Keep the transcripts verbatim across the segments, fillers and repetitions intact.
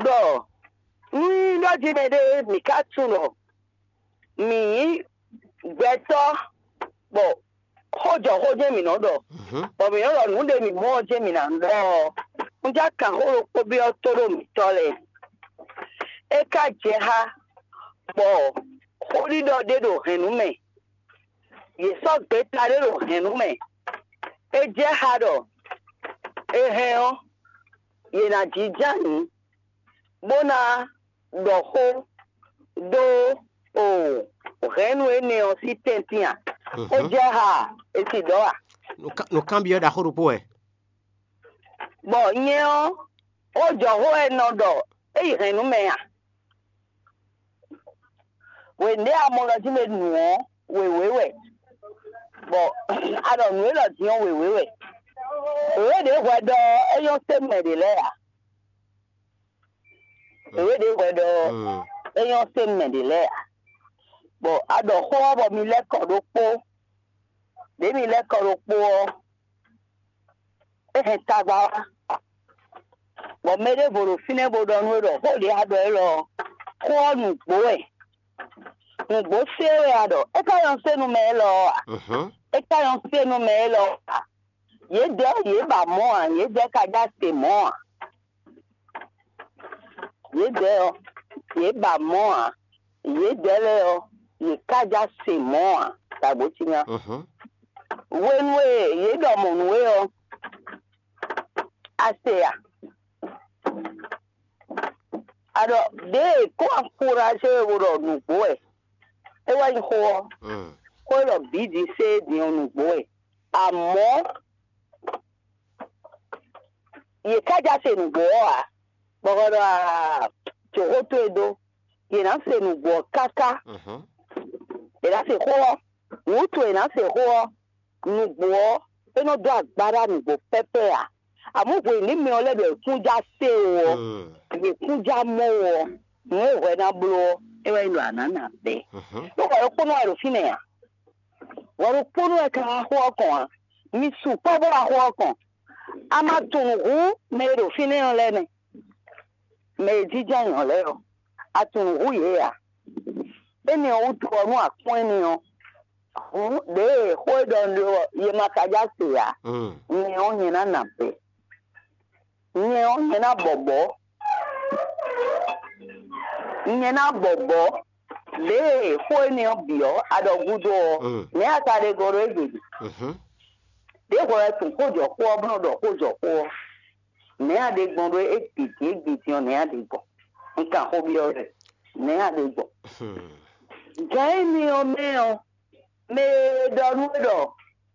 ɖɔ nú nyí ɖɔ jí mɛ ɖé mǐ ka tunwun ɖɔ mǐ nyí gbɛtɔ́, bɔ xó jɔ xó jɛ́n mǐ nɔ ɖɔ, mhm, bɔ mǐ nɔ ɖɔ nǔ ɖe mǐ mɔ ɔ́ jɛ́n mǐ ná ɖɔ ɔ́, un já kan xó ɖokpó byɔ́ tóɖó mǐtɔn lɛ́ɛ. É ka jɛ xá bɔ xóɖiɖɔ ɖé ɖo hɛ̌nnu mɛ, yě sɔ́ gbeta ɖé ɖo hɛ̌nnu mɛ. É jɛ xá ɖɔ è hɛn ɔ́, yě ná jínjɔ́n ayǐ, bó ná ɖɔ xó dó o hɛ̌nnu énɛ́ ɔ́ sín tɛ́ntin a? É, mhm, jɛ xá a? È si ɖɔ a? Nǔ kan- nǔ kanbyɔ́ ɖaxó ɖokpó wɛ. Bɔ nyɛ ɔ́, xó jɔ xó wɛ nɔ ɖɔ é yi hɛ̌nnu mɛ a? Hwenu ɖé a mɔ ɖɔ jí mɛ nu ɔ́, wěwé wɛ, bɔ a ɖɔ nǔ élɔ́ din ɔ́, wěwé wɛ. Wěwé ɖě hwɛ ɖɔ é nyɔ́ sé mɛ ɖě lɛ́ɛ ǎ. Wěwé ɖě hwɛ ɖɔ, mm, é nyɔ́ sé mɛ ɖě lɛ́ɛ ǎ. Bɔ a ɖɔ xó ɔ́ bɔ mi lɛ́ kɔ ɖokpó. Ɖě mi lɛ́ kɔ ɖokpó ɔ́, é hɛn tagba wá, bɔ mɛ ɖěvo ɖo fínɛ́ bó ɖɔ nú we ɖɔ xó ɖě a ɖɔ élɔ́ ɔ́, xó ɔ́ nǔgbó wɛ. Nǔgbó sé wɛ a ɖɔ, é ka nyɔ́ sé nú mɛ élɔ́ ɔ́ a? Mhm. É ka nyɔ́ sé nú mɛ élɔ́ ɔ́ a? Yědɛɛ yě ba mɔ̌ ǎ, yědɛɛ ka já se mɔ̌ ǎ. Yědɛɛ ɔ́, yě ba mɔ̌ ǎ; yědɛɛ lɛ́ɛ ɔ́, yě ka já se mɔ̌ ǎ. Dǎgbó cí nya. Mhm. Hwenu e yě ɖɔ mɔ̌ nú we ɔ́, a se a? A ɖɔ ɖěe kó axurá ce e bo ɖɔ nǔgbó wɛ, é wɛ nyí xó ɔ́. Mm. Xó e ɖɔ bǐ din sé din ɔ́ nǔgbó wɛ. Amɔ̌, yě ká já se nǔgbó ɔ́ ǎ, bɔ hwɛ ɖɔ aa, jǒxó towe dó. Yě ná se nǔgbó ɔ́ káká. Mhm. Yě ná se xó ɔ́, wǔtu e yě ná se xó ɔ́, nǔgbó ɔ́, é nɔ dó agba ɖó nǔgbó pɛ́pɛ́ ǎ. Amɔ̌ hwenu mɛ ɔ́ lɛ́ ɖɔ è kún já se ó ɔ́, mm, è kún já mɔ ó ɔ́, nǔ e hwɛ ná bló ɔ́, é wɛ nyí ɖɔ a nǎ nǎ bɛ́. Mhm. Ɖó hwɛ ɖokpónɔ wɛ ɖo fínɛ́ ǎ. Hwɛ ɖokpónɔ wɛ ka wá xó ɔ́ kɔn ǎ. Mi sukpɔ́ bó wá xó ɔ́ kɔn. A ma tunwun hǔn mɛ e ɖo fínɛ́ ɔ́ lɛ́ɛ nɛ́. Mɛ e jínjɔ́n ayǐ ɔ́ lɛ́ɛ ɔ́, a tunwun hú yě ǎ. Énɛ́ ɔ́ wútu ɔ́, nú a kpɔ́n énɛ́ ɔ́, hǔn ɖěe xó e ɖɔ un ɖe ɔ́, yě ma ka já se ǎ. Mm. Nyɛ ɔ́, nyɛ ná nǎ bɛ́. Nyɛ ɔ́, nyɛ ná bɔbɔ̌. Nyɛ ná bɔbɔ̌. Ɖěe xó énɛ́ ɔ́ bǐ ɔ́, a ɖɔ gúdo ɔ́, mm, nɛ̌ a ka ɖe gɔ́ ɖó égbé? Mhm. Ɖěvo wɛ tunwun xó jɔ xó ɔ́, bó nɔ́ ɖɔ xó jɔ xó ɔ́. Nɛ̌ a ɖe gbɔn ɖó égbé din égbé din ɔ́, nɛ̌ a ɖe gbɔn? Un kan xó byɔ́ we. Nɛ̌ a ɖe gbɔn? Hmm. Gǎn énɛ́ ɔ́ mɛ ɔ́, mɛ e ɖɔ nú we ɖɔ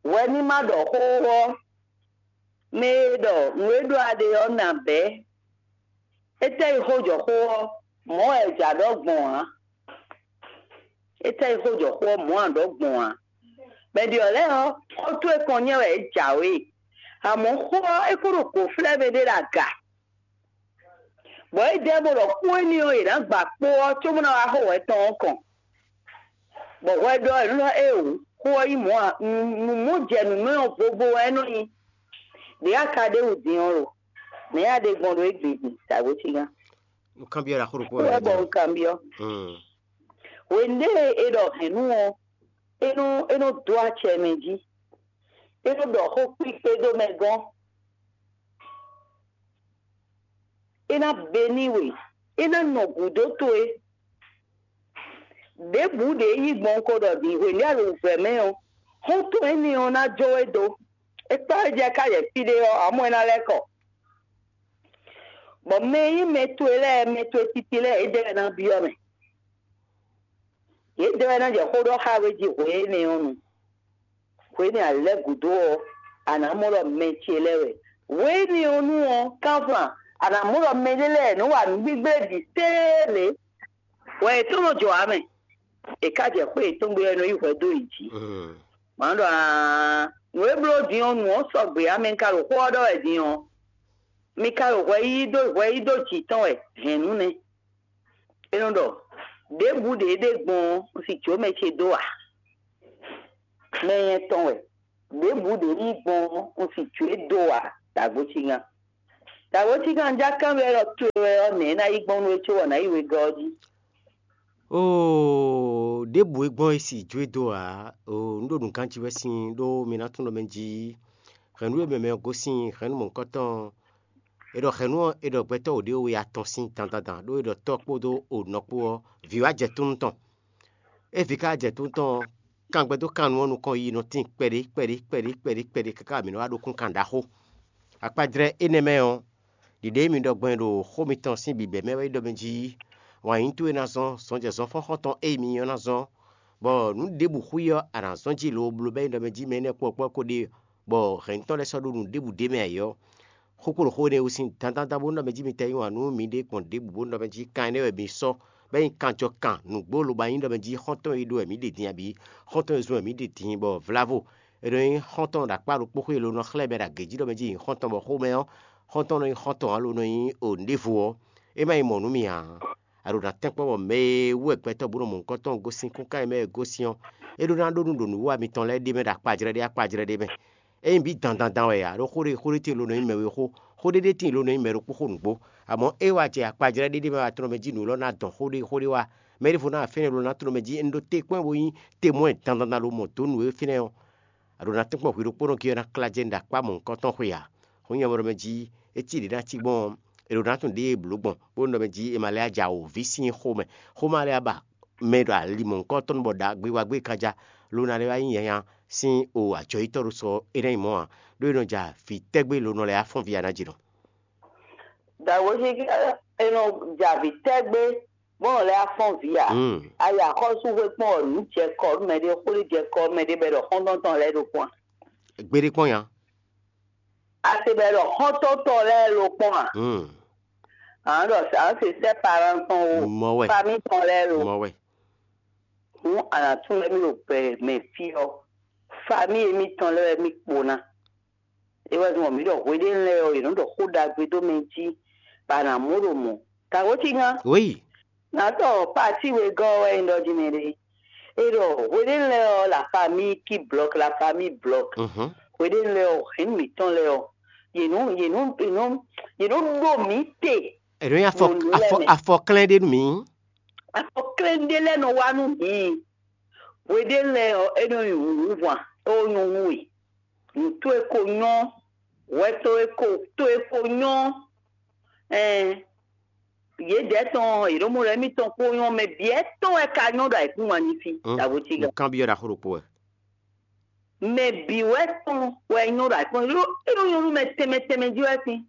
hwɛ ní ma ɖɔ xó ɔ́, mɛ e ɖɔ nǔ e ɖɔ a ɖe ɔ́ ná bɛ́. Étɛ́ yi xó jɔ xó ɔ́, mɔ̌ wɛ è jǎ ɖɔ gbɔn ǎ. Étɛ́ yi xó jɔ xó ɔ́, mɔ̌ a ɖɔ gbɔn ǎ. Mɛ ɖě ɔ́ lɛ́ɛ ɔ́, xó towe kɔn nyɛ wɛ é jǎwe. Amɔ̌ xó ɔ́, é kó ɖo gǒflɛ́ mɛ ɖé ɖo aga. Bɔ é jɛ bó ɖɔ kpó énɛ́ ɔ́, è nǎ gba kpó ɔ́ cóbó ná wá xo hwɛ tɔn ɔ́ kɔn. Bɔ hwɛ ɖɔ è nɔ ɖɔ éeǒ, xó ɔ́ nyí mɔ̌ ǎ, nǔ mɔ jɛ nǔ mɛ ɔ́ vovo wɛ é nɔ nyí. Ɖě a ka ɖe wǔ din ɔ́ lo? Nɛ̌ a ɖe gbɔn ɖo égbé din? Dǎgbó cígán. Un kanbyɔ́ ɖaxó ɖokpó wɛ wɛ bɔ un kanbyɔ́. Hmm. Hwenu ɖé e ɖɔ hɛ̌nnu ɔ́, é nɔ é nɔ dó acɛ mɛ jí. É nɔ ɖɔ xó kpíkpé dó mɛ gɔ́n. É ná be n'i we. É ná nɔ gǔdo towe. Ɖěbǔ ɖě yí gbɔn ko ɖɔ din hwenu ɖé a ɖo wǔvɛ́ mɛ ɔ́, xɔ́ntɔn énɛ́ ɔ́ ná jó we dó. É kpá we jɛ ká yɛ fí ɖé ɔ́, amɔ̌ é ná lɛ́ kɔ. Bɔ mɛ e nyí mɛ towe lɛ́ɛ, mɛ towe titi lɛ́ɛ, yědɛɛ wɛ ná byɔ́ mɛ. Yědɛɛ wɛ ná jɛ xó ɖɔ xá we jí hwe énɛ́ ɔ́ nu. Hwe énɛ́ a lɛ́ gǔdo ɔ́, a nǎ mɔ ɖɔ mɛ ce lɛ́ɛ wɛ. Hwe énɛ́ ɔ́ nu ɔ́, kánfan, a nǎ mɔ ɖɔ mɛɖé lɛ́ɛ nɔ wa nǔgbígblé bǐ téé lě. Hwɛ yětɔn nɔ jɔ ǎ mɛ. È ká jɛ xwé yětɔn gbe wɛ nɔ yí hwɛ dó yě jí. Mm. Mǎ ɖɔ aa, nǔ e bló din ɔ́, nǔ ɔ́ sɔgbe ǎ, mɛ ka ɖo xó ɔ́ ɖɔ wɛ din ɔ́, mi ka ɖo hwɛ yí dó hwɛ yí dó jǐ tɔn wɛ hɛ̌nnu nɛ́. É nɔ ɖɔ: Ɖěbǔ ɖě ɖe gbɔn ɔ́, un si jǒ mɛ ce dó ǎ. Mɛ nyɛ tɔn wɛ. Ɖěbǔ ɖě yí gbɔn ɔ́, un si jǒ e dó ǎ, dǎgbó cígán. Dǎwe cíkan já kanbyɔ́ ɖɔ towe wɛ ɔ́, nɛ̌ é ná yi gbɔn nú we cóbɔ nǎ yi wegɔ́ ɔ́ jí? Oo, ɖěbǔ e gbɔn e si jó e dó ǎ. Oo, un ɖo nǔ ganjí wɛ sín ɖó mi ná tunwun ɖɔ mɛ jí hɛ̌nnu e mɛ mɛ ɔ́ gosín hɛ̌nnu mɔ̌hunkɔtɔn. È ɖɔ hɛ̌nnu ɔ́, è ɖɔ gbɛtɔ́ wǒ ɖé we atɔn sín dandandan ɖó è ɖɔ tɔ́ kpódó onɔ kpó ɔ́, vǐ wá jɛ túnnu tɔn. É vǐ ka jɛ túnnu tɔn ɔ́, kangbɛ́ dó kan nú ɔ́ nukɔn yiyi nɔ tíin kpɛɖé kpɛɖé kpɛɖé kpɛɖé kpɛɖé káká mǐ nɔ wá ɖó kún kan ɖaxó. Akpajlɛ́ énɛ́ mɛ ɔ́, ɖiɖe e mi ɖɔ gbɔn ɖo xó mitɔn sín bǐbɛ́ mɛ wɛ nyí ɖɔ mɛ jí wǎn yí towe ná zɔ́n zɔnjɛzɔnfɔ́n xɔ́ntɔn e mi nyɔ́ ná zɔ́n, bɔ nǔ ɖěbǔ xwí ɔ́, a nǎ zɔ́n jí lo bló bɔ é nyí ɖɔ mɛ jí mɛ énɛ́ kpɔ́kpɔ́ ko ɖe, bɔ hɛ̌ntɔ́ lɛ́ɛ sɔ́ ɖó nǔ ɖěbǔ ɖ'é mɛ ǎ é ɔ́, xó kpo ɖo xó énɛ́ wú sín dandan bó nɔ mɛ jí mi tɛ yí wǎn nú miɖée gbɔn ɖěbǔ bó nɔ mɛ jí kan énɛ́ wɛ mi sɔ́, bɔ é nyí kanjɔkan nǔgbó lobo nyí ɖɔ mɛ jí xɔ́ntɔn e ɖó wɛ mǐ ɖe din abǐ xɔ́ntɔn e zɔ́n wɛ mǐ ɖe din bɔ vlávo è nɔ nyí xɔ́ntɔn ɖo akpá ɖokpó xwé e lo nɔ xlɛ́ mɛ ɖo agě jí ɖɔ mɛ jí nyí xɔ́ntɔn, bɔ xomɛ ɔ́, xɔ́ntɔn nɔ nyí xɔ́ntɔn ǎ lo nɔ nyí o nǔɖévo ɔ́, é má nyí mɔ̌ nú mì ǎ. A ɖo ná tɛ́nkpɔ́n bɔ mɛ e wú wɛ gbɛtɔ́ bó nɔ mɔ nukɔn tɔn gosín kúnkan e mɛ e gosín ɔ́, é ɖó ná ɖó nú ɖo nǔwiwa mitɔn lɛ́ɛ ɖ'é mɛ ɖo akpajlɛ́ ɖé akpajlɛ́ ɖé mɛ. Ényí bǐ dandandan wɛ ǎ, ɖó xó ɖé xó ɖé tíin lo nɔ nyí mɛ we xó, xó ɖé ɖé tíin lo nɔ nyí mɛ ɖokpó xó nǔgbó. Amɔ̌ é wá jɛ akpajlɛ́ ɖé ɖé mɛ wá tlɔ́n mɛ jí nǔ élɔ́ ná dɔn xó ɖé xó ɖé wá. Mɛ ɖěvo ná wá fɛ́nɛ lo ná tlɔ́n mɛ jí un ɖó te kpɔ́n bó nyí te mɔ̌ wɛ dandandan lo mɔ dǒ nǔ e fínɛ́ ɔ́, a ɖǒ ná tɛ́nkpɔ́n hwi ɖokpónɔ gé ɔ́ ná klá jɛ nǔ ɖo akpá mɔ̌hunkɔtɔn xwe ǎ. Hǔn nyɛ mɔ ɖɔ mɛ jí é cí ɖě ná cí gbɔn ɔ́, è ɖǒ ná tunwun ɖěe è blǒ gbɔn, bó nɔ mɛ jí è ma lɛ́ ja wǒ ví sín xomɛ. Xomɛ lɛ́ ba mɛ ɖo ali mɔ̌hunkɔtɔn bɔ ɖagbe wá gbé kan ja, lo ná lɛ́ wá nyí nyanya sín o ajɔyítɔ́ ɖo sɔ é ná nyí mɔ̌ ǎ, ɖó è nɔ ja vǐ tɛ́gbé lo nɔ lɛ́ wá fɔ́n vǐ ǎ ná jǐ nɔ. Dǎwe cí é nɔ ja vǐ tɛ́gbé bó nɔ lɛ́ wá fɔ́n vǐ ǎ. Mm. A yi axɔ́súxwé kpɔ́n ɔ́, nǔ jɛ kɔ nú mɛɖé, xó ɖé jɛ kɔ nú mɛɖé bɔ è ɖɔ xɔ́ntɔn tɔn lɛ́ɛ ɖo kpɔ́n a? Gbeɖé kpɔ́n nya. A se bɔ è ɖɔ xɔ́ntɔn tɔn lɛ́ɛ ɖo kpɔ́n a? Mm. A nǎ ɖɔ a nǎ se sɛ́ paran tɔn o, Mɔ wɛ. Famí tɔn lɛ́ɛ ɖo. Mɔ wɛ. Hǔn a nǎ tunwun émí ɖo gbɛ mɛ fí ɔ́, famí émítɔn lɛ́ɛ wɛ mì kpo ná. É wɛ zɔ́n bɔ mǐ ɖɔ hweɖénu lɛ́ɛ ɔ́, yě nɔ́ ɖɔ xó ɖagbe dó mɛ jí, bɔ a nǎ mɔ ɖo mɔ̌. Dǎwe cí nya. Oui. Nǎ ɖɔ pati wegɔ́ ɔ́ wɛ nyí ɖɔ jí mɛ ɖé. É ɖɔ hweɖénu lɛ́ɛ ɔ́, la famille qui bloque, la famille bloque. Mhm. Hweɖénu lɛ́ɛ ɔ́, hɛ̌n mǐtɔn lɛ́ɛ ɔ́, yě nɔ yě nɔ yě nɔ yě nɔ ɖo mǐ te. È nɔ nyi afɔ Nǔ lɛ́ɛ afɔ mɛ. Afɔ klɛ́n ɖé nú mǐ. Afɔ klɛ́n ɖé lɛ́ɛ nɔ wá nú mǐ. Hweɖénu lɛ́ɛ ɔ́, é nɔ nyi wǔwúhwan, é wó nyɔ́ nú we. Nǔ towe ko nyɔ́, hwɛ towe ko towe ko nyɔ́. Ɛn yědɛɛ tɔn, yě ɖo mɔ ɖɔ émítɔn kpó nyɔ́, mɛ bǐ wɛ tɔn wɛ ka nyɔ́ ɖo ayǐkúngban jí fí, Mm, dǎbo cí gǎ. Nǔkanbyɔ́ ɖaxó ɖokpó wɛ. Mɛ bǐ wɛ tɔn wɛ nyɔ́ ɖo ayǐkúngban jí, é nɔ nyɔ́ nú mɛ tɛnmɛ tɛnmɛ jí wɛ sín,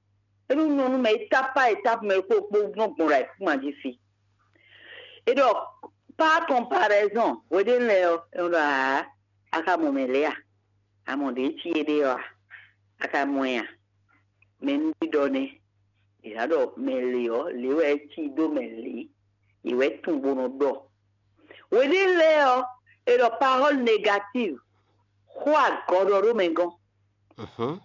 é nɔ nyɔ́ nú mɛ étape par étape mɛ kpó kpó nɔ gbɔn ɖo ayǐkúngban jí fí. É ɖɔ par comparaison, hweɖénu lɛ́ɛ ɔ́, é nɔ ɖɔ aa, a ka mɔ mɛ lɛ́ɛ a? A mɔ ɖě cí éɖée ɔ́ a? A ka mɔ ɛ a? Mɛ nú ɖiɖɔ nɛ́. È nǎ ɖɔ mɛ lě ɔ́, lě wɛ é cí dó mɛ lě, è wɛ tunwun bó nɔ ɖɔ. Hweɖénu lɛ́ɛ ɔ́, è ɖɔ parole négative, xó agɔɖɔ ɖó mɛ gɔ́n. Mhm.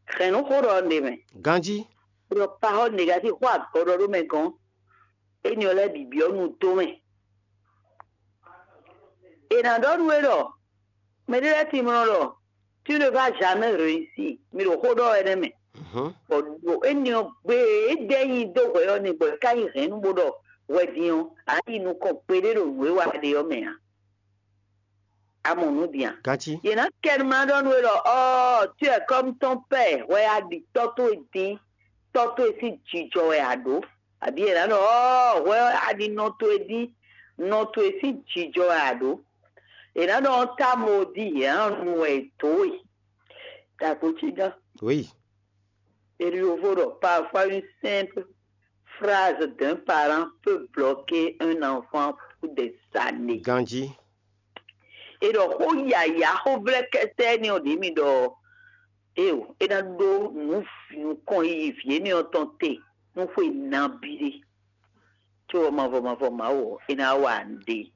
Hɛ̌nnu xó ɖɔ ɖe mɛ. Ganjí. È ɖɔ parole négative, xó agɔɖɔ ɖó mɛ gɔ́n. Énɛ́ ɔ́ lɛ́ɛ bǐ byɔ́ nu dó mɛ. È nǎ ɖɔ nú we ɖɔ mɛɖé lɛ́ɛ timlɔ ɖɔ tu ne vas jamais réussir, mi ɖo xó ɖɔ wɛ nɛ́ mɛ. Mhm. Bɔ ɖo énɛ́ ɔ́ gbe e dɛ́ nyi dó hwɛ ɔ́ ni bɔ è ká nyi hɛ̌nnu bó ɖɔ hwɛ din ɔ́, a yi nukɔn gbeɖé ɖo nǔ e wa ɖe ɔ́ mɛ ǎ. A mɔ nǔ din a? Ganjí. Yě ná kɛ nú ma ɖɔ nú we ɖɔ ɔ́, tu wɛ kɔ́mítɔ́n pɛ́ hwɛ a ɖi tɔ́ towe dín, tɔ́ towe sín jijɔ wɛ a ɖǒ. Abǐ è nǎ ɖɔ ɔ́, hwɛ a ɖi nɔ towe dín, nɔ towe sín jijɔ wɛ a ɖǒ. È nǎ ɖɔ ɔ́, támo ɔ́ dí yě ná nu wɛ è dǒ we. Dǎkpo cí gán. Oui. Eliovo ɖɔ parfois une simple phrase d'un parent peut bloquer un enfant pour des années. Ganjí. È ɖɔ xó yǎyá xó vlɛ́ kɛsɛ énɛ́ ɔ́ ɖě mi ɖɔ eo é ná ɖó nǔ nukɔn yiyi vǐ énɛ́ ɔ́ tɔn te nú xwe nabí ɖé. Có ɔ́ mavɔ mavɔ Mawu ɔ́, é ná wa nǔɖé.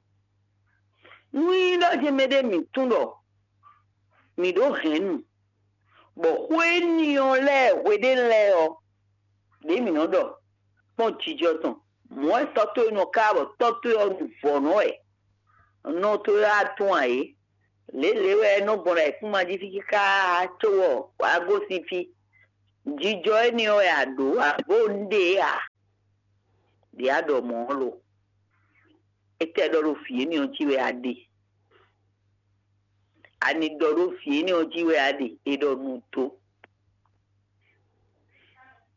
Nú nyí ɖɔ jɛ́n mɛɖé mǐ tunwun ɖɔ mǐ ɖó hɛ̌nnu, bɔ xó énɛ́ ɔ́ lɛ́ɛ hweɖénu lɛ́ɛ ɔ́, ɖě mǐ nɔ ɖɔ kpɔ́n jijɔ tɔn. Mɔ̌ wɛ tɔ́ towe nɔ ká bɔ tɔ́ towe ɔ́ ɖu vɔ̌ nɔ wɛ. Nɔ towe wá tún ǎ é. Lě lě wɛ é nɔ gbɔn ɖo ayǐkúngban jí fí káká cóbɔ wǎ gosín fí. Jijɔ énɛ́ ɔ́ wɛ a ɖǒ, a bó un ɖe ǎ. Ɖě a ɖɔ mɔ̌ ɔ́ lo? Étɛ́ ɖɔ ɖo vǐ énɛ́ ɔ́ jí wɛ a ɖe? Ani ɖɔ ɖó vǐ énɛ́ ɔ́ jí wɛ a ɖe? È ɖɔ nu dó.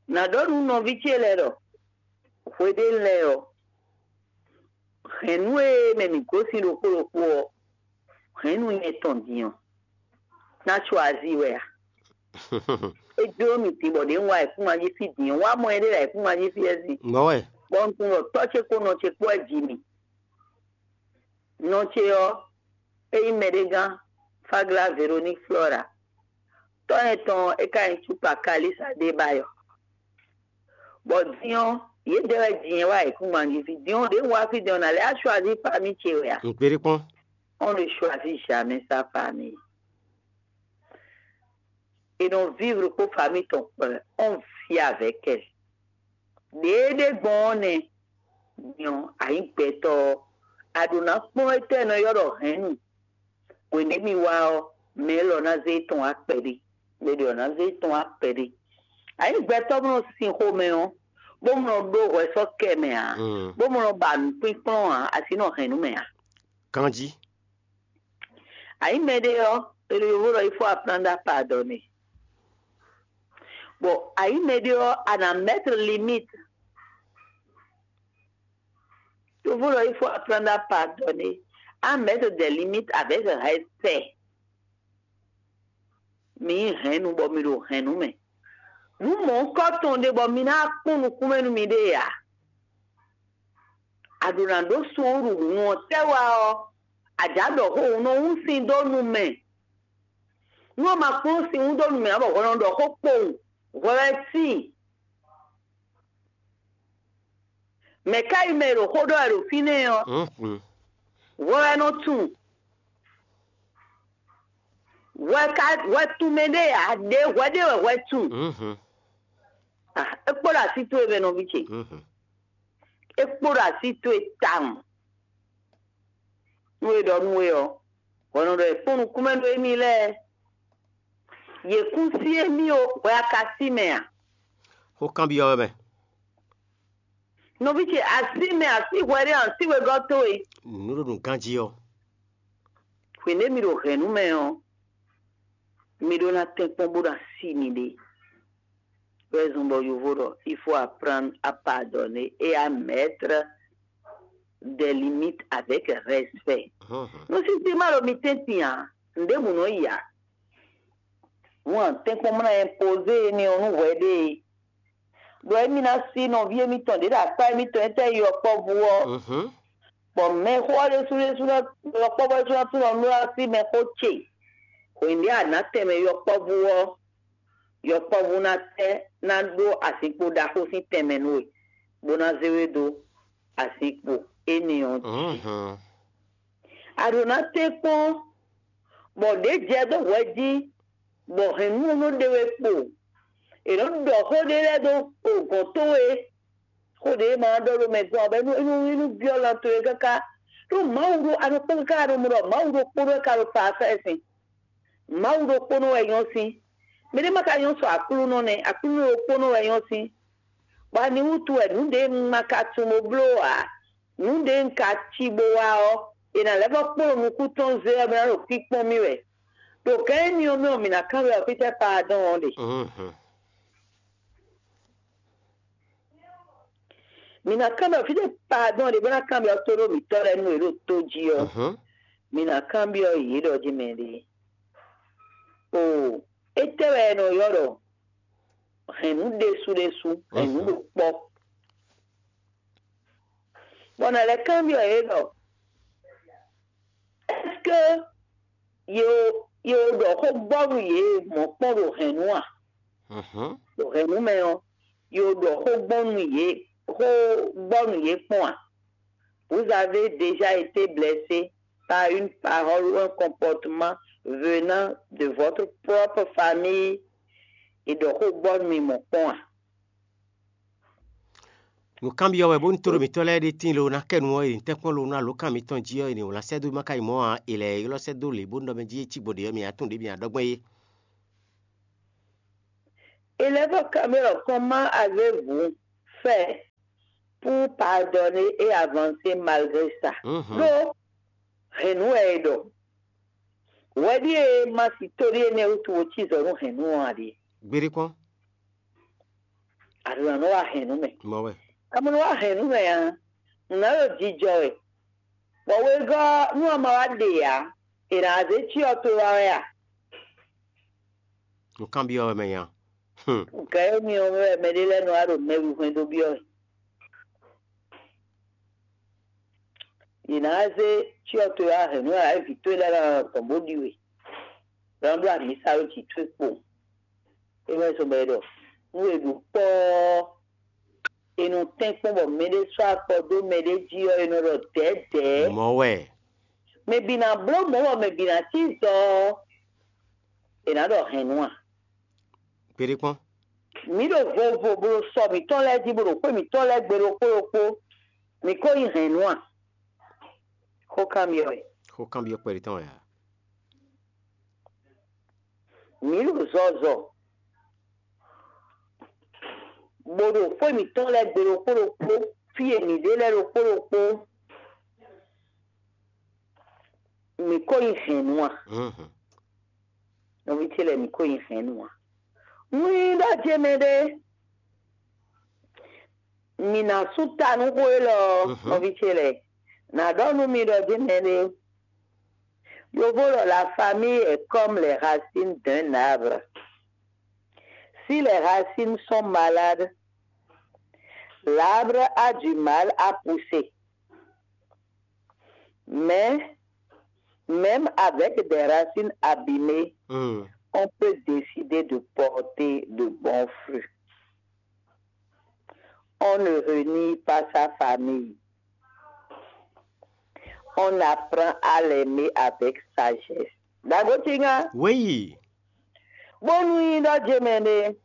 Nǎ ɖɔ nú nɔví ce lɛ́ɛ ɖɔ hweɖénu lɛ́ɛ ɔ́, hɛ̌nnu e mɛ mǐ gosín ɖokpó ɖokpó ɔ́, hɛ̌nnu nyɛ tɔn din ɔ́, ná có azí wɛ a? É jló mì din bɔ ɖě un wá ayǐkúngban jí fí din ɔ́, wá mɔ éɖée ɖo ayǐkúngban jí fí wɛ sin. Bɔ wɛ. Bɔ un tunwun ɖɔ tɔ́ ce kpó nɔ ce kpó wɛ ji mì. Nɔ ce ɔ́, é nyí mɛɖé gán, Fáglá Veroník Flɔ́ra. Tɔ́ nyɛ tɔn ɔ́, é ka nyí Cúkpa Kalísa ɖé ba yɔ. Bɔ din ɔ́, yědɛɛ wɛ din ɔ́ wá ayǐkúngban jí fí. Din ɔ́, ɖě un wá fí din ɔ́, nǎ lɛ́ á choisir famille ce wɛ a? Un kpé ɖé kpɔ́n. On ne choisit jamais sa famille. È nɔ vivre kpó famille tɔn kpɛɖɛ, on vit avec elle. Ɖěeɖé gbɔn ɔ́ nɛ́, nyɔ ayǐ gbɛtɔ́ ɔ́, a ɖǒ ná kplɔ́n étɛ́ è nɔ ylɔ́ ɖɔ hɛ̌nnu. Hwenu e mì wá ɔ́, mɛ élɔ́ ná zé tɔn wá kpɛɖé, mɛ ɖě ɔ́ ná zé tɔn wá kpɛɖé. Ayǐ gbɛtɔ́ mɔ nɔ sin xomɛ ɔ́, bó mɔ nɔ ɖó hwɛ sɔ́ kɛ mɛ ǎ, bó mɔ nɔ ba nǔkpínkplɔ́n ǎ, así nɔ hɛ̌nnu mɛ ǎ. Ganjí. Ayǐ mɛɖé ɔ́, è ɖo yovo ɖɔ il faut apprendre à pardonner. Bon, ayǐ mɛɖé ɔ́, à nǎ mettre limite. Yovo ɖɔ il faut apprendre à pardonner, à mettre des limites avec respect. Mi nyí hɛ̌nnu bɔ mi ɖo hɛ̌nnu mɛ. Nǔ mɔ̌hunkɔtɔn ɖé bɔ mi ná kpɔ́n nukúnmɛ nú miɖée ǎ. A ɖǒ ná ɖó suúlu hǔn ɔ́ tɛ́ wá ɔ́, a jǎ ɖɔ xó hǔn nɔ hún sin dó nu mɛ. Nú a ma kplɔ́n sin hún dó nu mɛ ǎ bɔ hwɛ nɔ ɖɔ xó kpowun, hwɛ wɛ tíin. Mɛ̌ ka nyí mɛ e ɖo xó ɖɔ wɛ ɖo fínɛ́ ɔ́? Hwɛ wɛ nɔ tunwun. Hwɛ ka hwɛ tunwun mɛ ɖé ǎ, ɖě hwɛ ɖé wɛ hwɛ tunwun. Ah, é kpo ɖo así towe mɛ nɔví ce. É kpo ɖo así towe tawun. Nú é ɖɔ nú we ɔ́, hwɛ nɔ ɖɔ è kpɔ́n nukúnmɛ nú émí lɛ́ɛ. Yě kún sí émí o, hwɛ a ka sí mɛ a? Xó kanbyɔ́ wɛ mɛ. Nɔví ce, a sí mɛ, a sí hwɛ ɖé, a sí wegɔ́ towe. Nǔɖuɖu ganjí ɔ́. Hwěɖé mi ɖo hɛ̌nnu mɛ ɔ́, mi ɖó ná tɛ́nkpɔ́n bó ná sí miɖée. Raison bɔ yovo ɖɔ il faut apprendre à pardonner et à mettre des limites avec respect. Nú sísí ma ɖo mi tɛ́ntin ǎ, nǔɖébǔ nɔ yi ǎ. Hǔn a tɛ́nkpɔ́n mɔ ná impoze énɛ́ ɔ́ nú hwɛɖée. Ɖɔ émí ná sí nɔví émítɔn ɖě ɖo akpá émítɔn e tɛ́ yi yɔkpɔ́vú ɔ́, bɔ mɛxó ɔ́ ɖésú ɖésú ná yɔkpɔ́vú ɔ́ ɖésú ná tunwun ɖɔ nú ná sí mɛxó ce. Hwěɖé a nǎ tɛnmɛ yɔkpɔ́vú ɔ́, yɔkpɔ́vú ná tɛ́ ná ɖó azinkpo ɖaxó sín tɛnmɛ nú we, bó ná zé we dó azinkpo énɛ́ ɔ́ jí. A ɖǒ ná tɛ́nkpɔ́n bɔ ɖě jɛ dó hwɛ jí, bɔ hɛ̌nnu ɔ́ nɔ ɖe we kpo. È nɔ ɖɔ xó ɖé lɛ́ɛ dó gɔ̌n towe, xó ɖě ma ɖɔ ɖo mɛ gɔ́n ɔ́, bɔ é nú é nú é nú byɔ́ lan towe káká. Ɖó Mawu ɖó a nɔ kpɔ́n káká ɖo mɔ ɖɔ Mawu ɖokpónɔ wɛ ka ɖo parfait sin. Mawu ɖokpónɔ wɛ nyɔ́ sín. Mɛɖé ma ka nyɔ́ sɔ Aklúnɔ nɛ́, Aklúnɔ ɖokpónɔ wɛ nyɔ́ sín. Bɔ ani wútu wɛ nǔ ɖě un ma ka tunwun bó bló ǎ? Nǔ ɖě un ka cí bó wá ɔ́, è nǎ lɛ́ vɔ́ kplɔ́n nukún tɔn zé ɔ́, bó ná ɖo kpíkpɔ́n mì wɛ. Ɖo gǎn énɛ́ ɔ́ mɛ ɔ́, mǐ ná kanbyɔ́ fítɛ́ pardɔn ɔ́ ɖe. Mǐ ná kanbyɔ́ fítɛ́ pardɔn ɖě bó ná kanbyɔ́ tóɖó mǐtɔn lɛ́ɛ nú yě ɖo tó jí ɔ́, mǐ ná kanbyɔ́ yě ɖɔ jí mɛ ɖě. Oo, étɛ́ wɛ è nɔ ylɔ́ ɖɔ hɛ̌nnu ɖésú ɖésú, hɛ̌nnu ɖo kpɔ́? Bɔ nǎ lɛ́ kanbyɔ́ yě ɖɔ: Est-ce que ye o ye o ɖɔ xó gbɔ nú yě mɔ̌ kpɔ́n ɖo hɛ̌nnu a? Ɖo hɛ̌nnu mɛ ɔ́, ye o ɖɔ xó gbɔ nú yě xó gbɔ nú yě kpɔ́n a? Vous avez déjà été blessé par une parole ou un comportement venant de votre propre famille? È ɖɔ xó gbɔ nú mi mɔ̌ kpɔ́n a? Nǔkanbyɔ́ wɛ bónú tóɖo mǐtɔn lɛ́ɛ ɖe tíin lo ná kɛ nu ɔ́, è nǐ tɛ́nkpɔ́n lo nú alǒkan mitɔn jí ɔ́, è nǐ wlán sɛ́ dó má ka nyí mɔ̌ ǎ, è lɛ̌ ylɔ́ sɛ́ dó lě bónú ɖɔ mɛ jí é cí gbɔn ɖě ɔ́, mi ná tunwun ɖě mi ná ɖɔ gbɔn é. Élève Camille, comment avez-vous fait pour pardonner et avancer malgré ça? Mhm. Ɖó hɛ̌nnu wɛ è ɖɔ. Hwɛ ɖíe ma si tóɖíe nɛ́ wútu wo cí zɔ nú hɛ̌nnu ɔ́ ǎ ɖíe. Gbeɖé kpɔ́n. Aɖǒ ná nɔ wá hɛn nú mɛ. Mɔ wɛ. Amɔ̌ nɔ wá hɛn nú mɛ ǎ. Nǔ ná ɖo jijɔ wɛ. Bɔ wegɔ́ nú a ma wá ɖe ǎ, è nǎ zé cyɔ towe wá wɛ a? Nǔkanbyɔ́ wɛ mɛ nya. Hum. Gǎ énɛ́ ɔ́ mɛ wɛ mɛɖé lɛ́ɛ nɔ wá ɖo mɛwihwɛ́n dó byɔ́ wɛ. Yě ná zé cyɔ towe wá hɛn nú ǎ, vǐ towe lɛ́ɛ ná nɔ gbɔn bó ɖi we. Lɔ nɔ ɖó amǐsa ɖó jǐ towe kpo. É wɛ zɔn bɔ è ɖɔ nú è ɖo kpɔ́ ɔ́, è nɔ tɛ́nkpɔ́n bɔ mɛɖé sɔ́ akpɔ dó mɛɖé jí ɔ́, è nɔ ɖɔ dɛ̌dɛ̌. Mɔ̌ wɛ. Mɛ bǐ ná bló mɔ̌ bɔ mɛ bǐ ná cí zɔ ɔ́, è nǎ ɖɔ hɛ̌nnu a? Kpeɖé kpɔ́n. Mǐ ɖo vovo bó ɖo sɔ mǐtɔn lɛ́ɛ jí, bó ɖo xwé mǐtɔn lɛ́ɛ gbe ɖokpó ɖokpó, mǐ ko nyí hɛ̌nnu a? Xó kanbyɔ́ wɛ. Xó kanbyɔ́ kpɛɖé tɔn wɛ a? Mǐ ɖo zɔzɔ, bó ɖo xwé mǐtɔn lɛ́ɛ gbe ɖokpó ɖokpó, fí e mǐ ɖe lɛ́ɛ ɖokpó ɖokpó, mǐ ko nyí hɛ̌nnu a? Mhm. Nɔví ce lɛ́ɛ, mǐ ko nyí hɛ̌nnu a? Nú nyí ɖɔ jɛ́n mɛɖé, mǐ ná sú ta nú xó élɔ́ ɔ́, mhm, nɔví ce lɛ́ɛ, nǎ ɖɔ nú mi ɖɔ jɛ́n mɛɖé. Yovó ɖɔ la famille est comme les racines d'un arbre. Si les racines sont malades, l'arbre a du mal à pousser. Mais même avec des racines abîmées, hmm, on peut décider de porter de bons fruits. On ne renie pas sa famille. On apprend à l'aimer avec sagesse. Dagotinga. Oui. Bónú nyí ɖɔ jɛmɛ ɖé,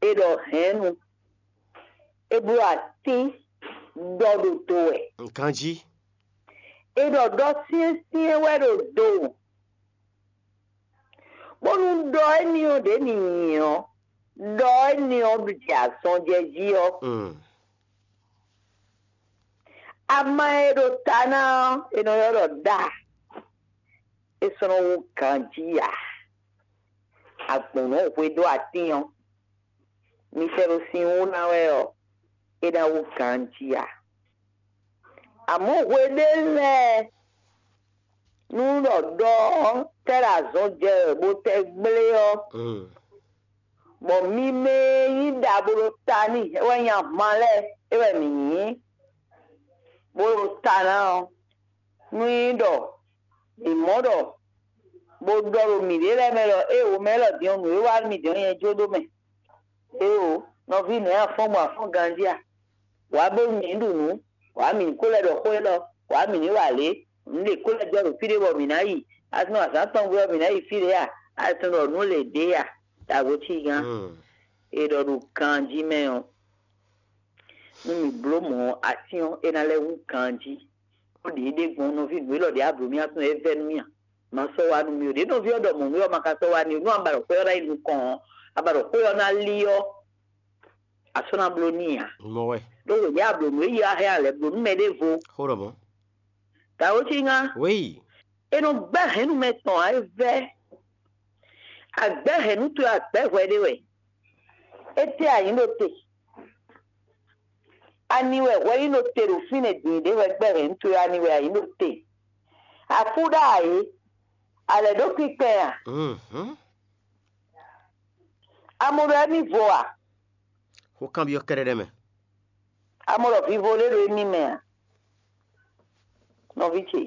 è ɖɔ hɛ̌nnu, è bló atín ɖɔ ɖo do wɛ. Ganjí. È ɖɔ ɖɔ syɛ́nsyɛ́n wɛ ɖo do. Bónú ɖɔ éní ɔ́ ɖě mi nyi ɔ́, ɖɔ éní ɔ́ ɖi azɔn jɛ jí ɔ́. Mm. Ama e ɖo ta ná ɔ́, è nɔ ylɔ́ ɖɔ ɖa. É sɔ́ nɔ wú ganjí ǎ. Agbɔ̌n nɔ hwe ɖó atín ɔ́, mi sɛ́ ɖo sin wú ná wɛ ɔ́, é ná wú ganjí ǎ. Amɔ̌ hwe ɖé lɛ́ɛ nú ɖɔ ɖɔ ɔ́ tɛ́ ɖo azɔn jɛ wɛ bó tɛ́ gblé ɔ́, mm, bɔ mi mɛ e nyí ɖa bó ɖo ta n'i é wɛ nyí ahwan lɛ́ɛ é wɛ mǐ nyí, bó ɖo ta ná ɔ́, nú nyí ɖɔ mǐ mɔ ɖɔ bó ɖɔ ɖo mǐɖée lɛ́ɛ mɛ ɖɔ éeǒ mɛ élɔ́ din ɔ́, nǔ e wá nú mì din ɔ́ nyɛ jó ɖó mɛ. Éeǒ, nɔví nɛ̌ a fɔ́n gbɔn a fɔ́n ganjí a? Wǎ bónú mǐ ní ɖu nǔ, wǎ mǐ ní ko lɛ́ ɖɔ xó élɔ́, wǎ mǐ ní wa lě, nǔ ɖě ko lɛ́ jɔ ɖo fí ɖé bɔ mǐ ná yi, a tunɔ azǎn tɔn gbe ɔ́ mǐ ná yi fí ɖě a? A tunɔ ɖɔ nǔ lě ɖě a? Dǎgbó cí gán. Hmm. È ɖɔ ɖo ganjí mɛ ɔ́, nú mǐ bló mɔ̌ ɔ́, atín ɔ́, é ná lɛ́ hú ganjí. Bó ɖě ɖé gbɔn nɔví nǔ élɔ́ ɖě a blǒ mì a tunɔ é vɛ́ nú mì a? Ma sɔ́ wá nú mì o. Ɖě nɔví ɔ́ ɖɔ mɔ̌ nú ɔ́, ma ka sɔ́ wá n'i ó. Nú a ba ɖɔ xwé ɔ́ ná yi nukɔn ɔ́, a ba ɖɔ xwé ɔ́ ná lí ɔ́, a sɔ́ ná bló n'i ǎ. Mɔ wɛ. Ɖó wění a blǒ nǔ e yi a hɛn a lɛ̌ blǒ nú mɛ ɖěvo. Xó ɖɔ mɔ̌. Dǎwe cí ŋá. Wéyi. È nɔ gbɛ́ hɛ̌nnu mɛ tɔn ǎ, é vɛ́. Àgbɛ́ hɛ̌nnu towe, àgbɛ́ hwɛ ɖé wɛ. Étɛ́ a nyǐ ɖo te? Ani wɛ hwɛ nyí ɖo te ɖo fínɛ́ din ɖě hwɛ gbɛ́ hɛ̌nnu towe? Ani wɛ a nyǐ ɖo te? Akú ɖó ayǐ, a lɛ̌ ɖó kpínkpɛn a? Mhm. A mɔ ɖɔ émí vo a? Xó kanbyɔ́ kɛ́ɖɛ́ɖɛ́ mɛ. A mɔ ɖɔ vivo ɖé ɖo émí mɛ a? Nɔví ce,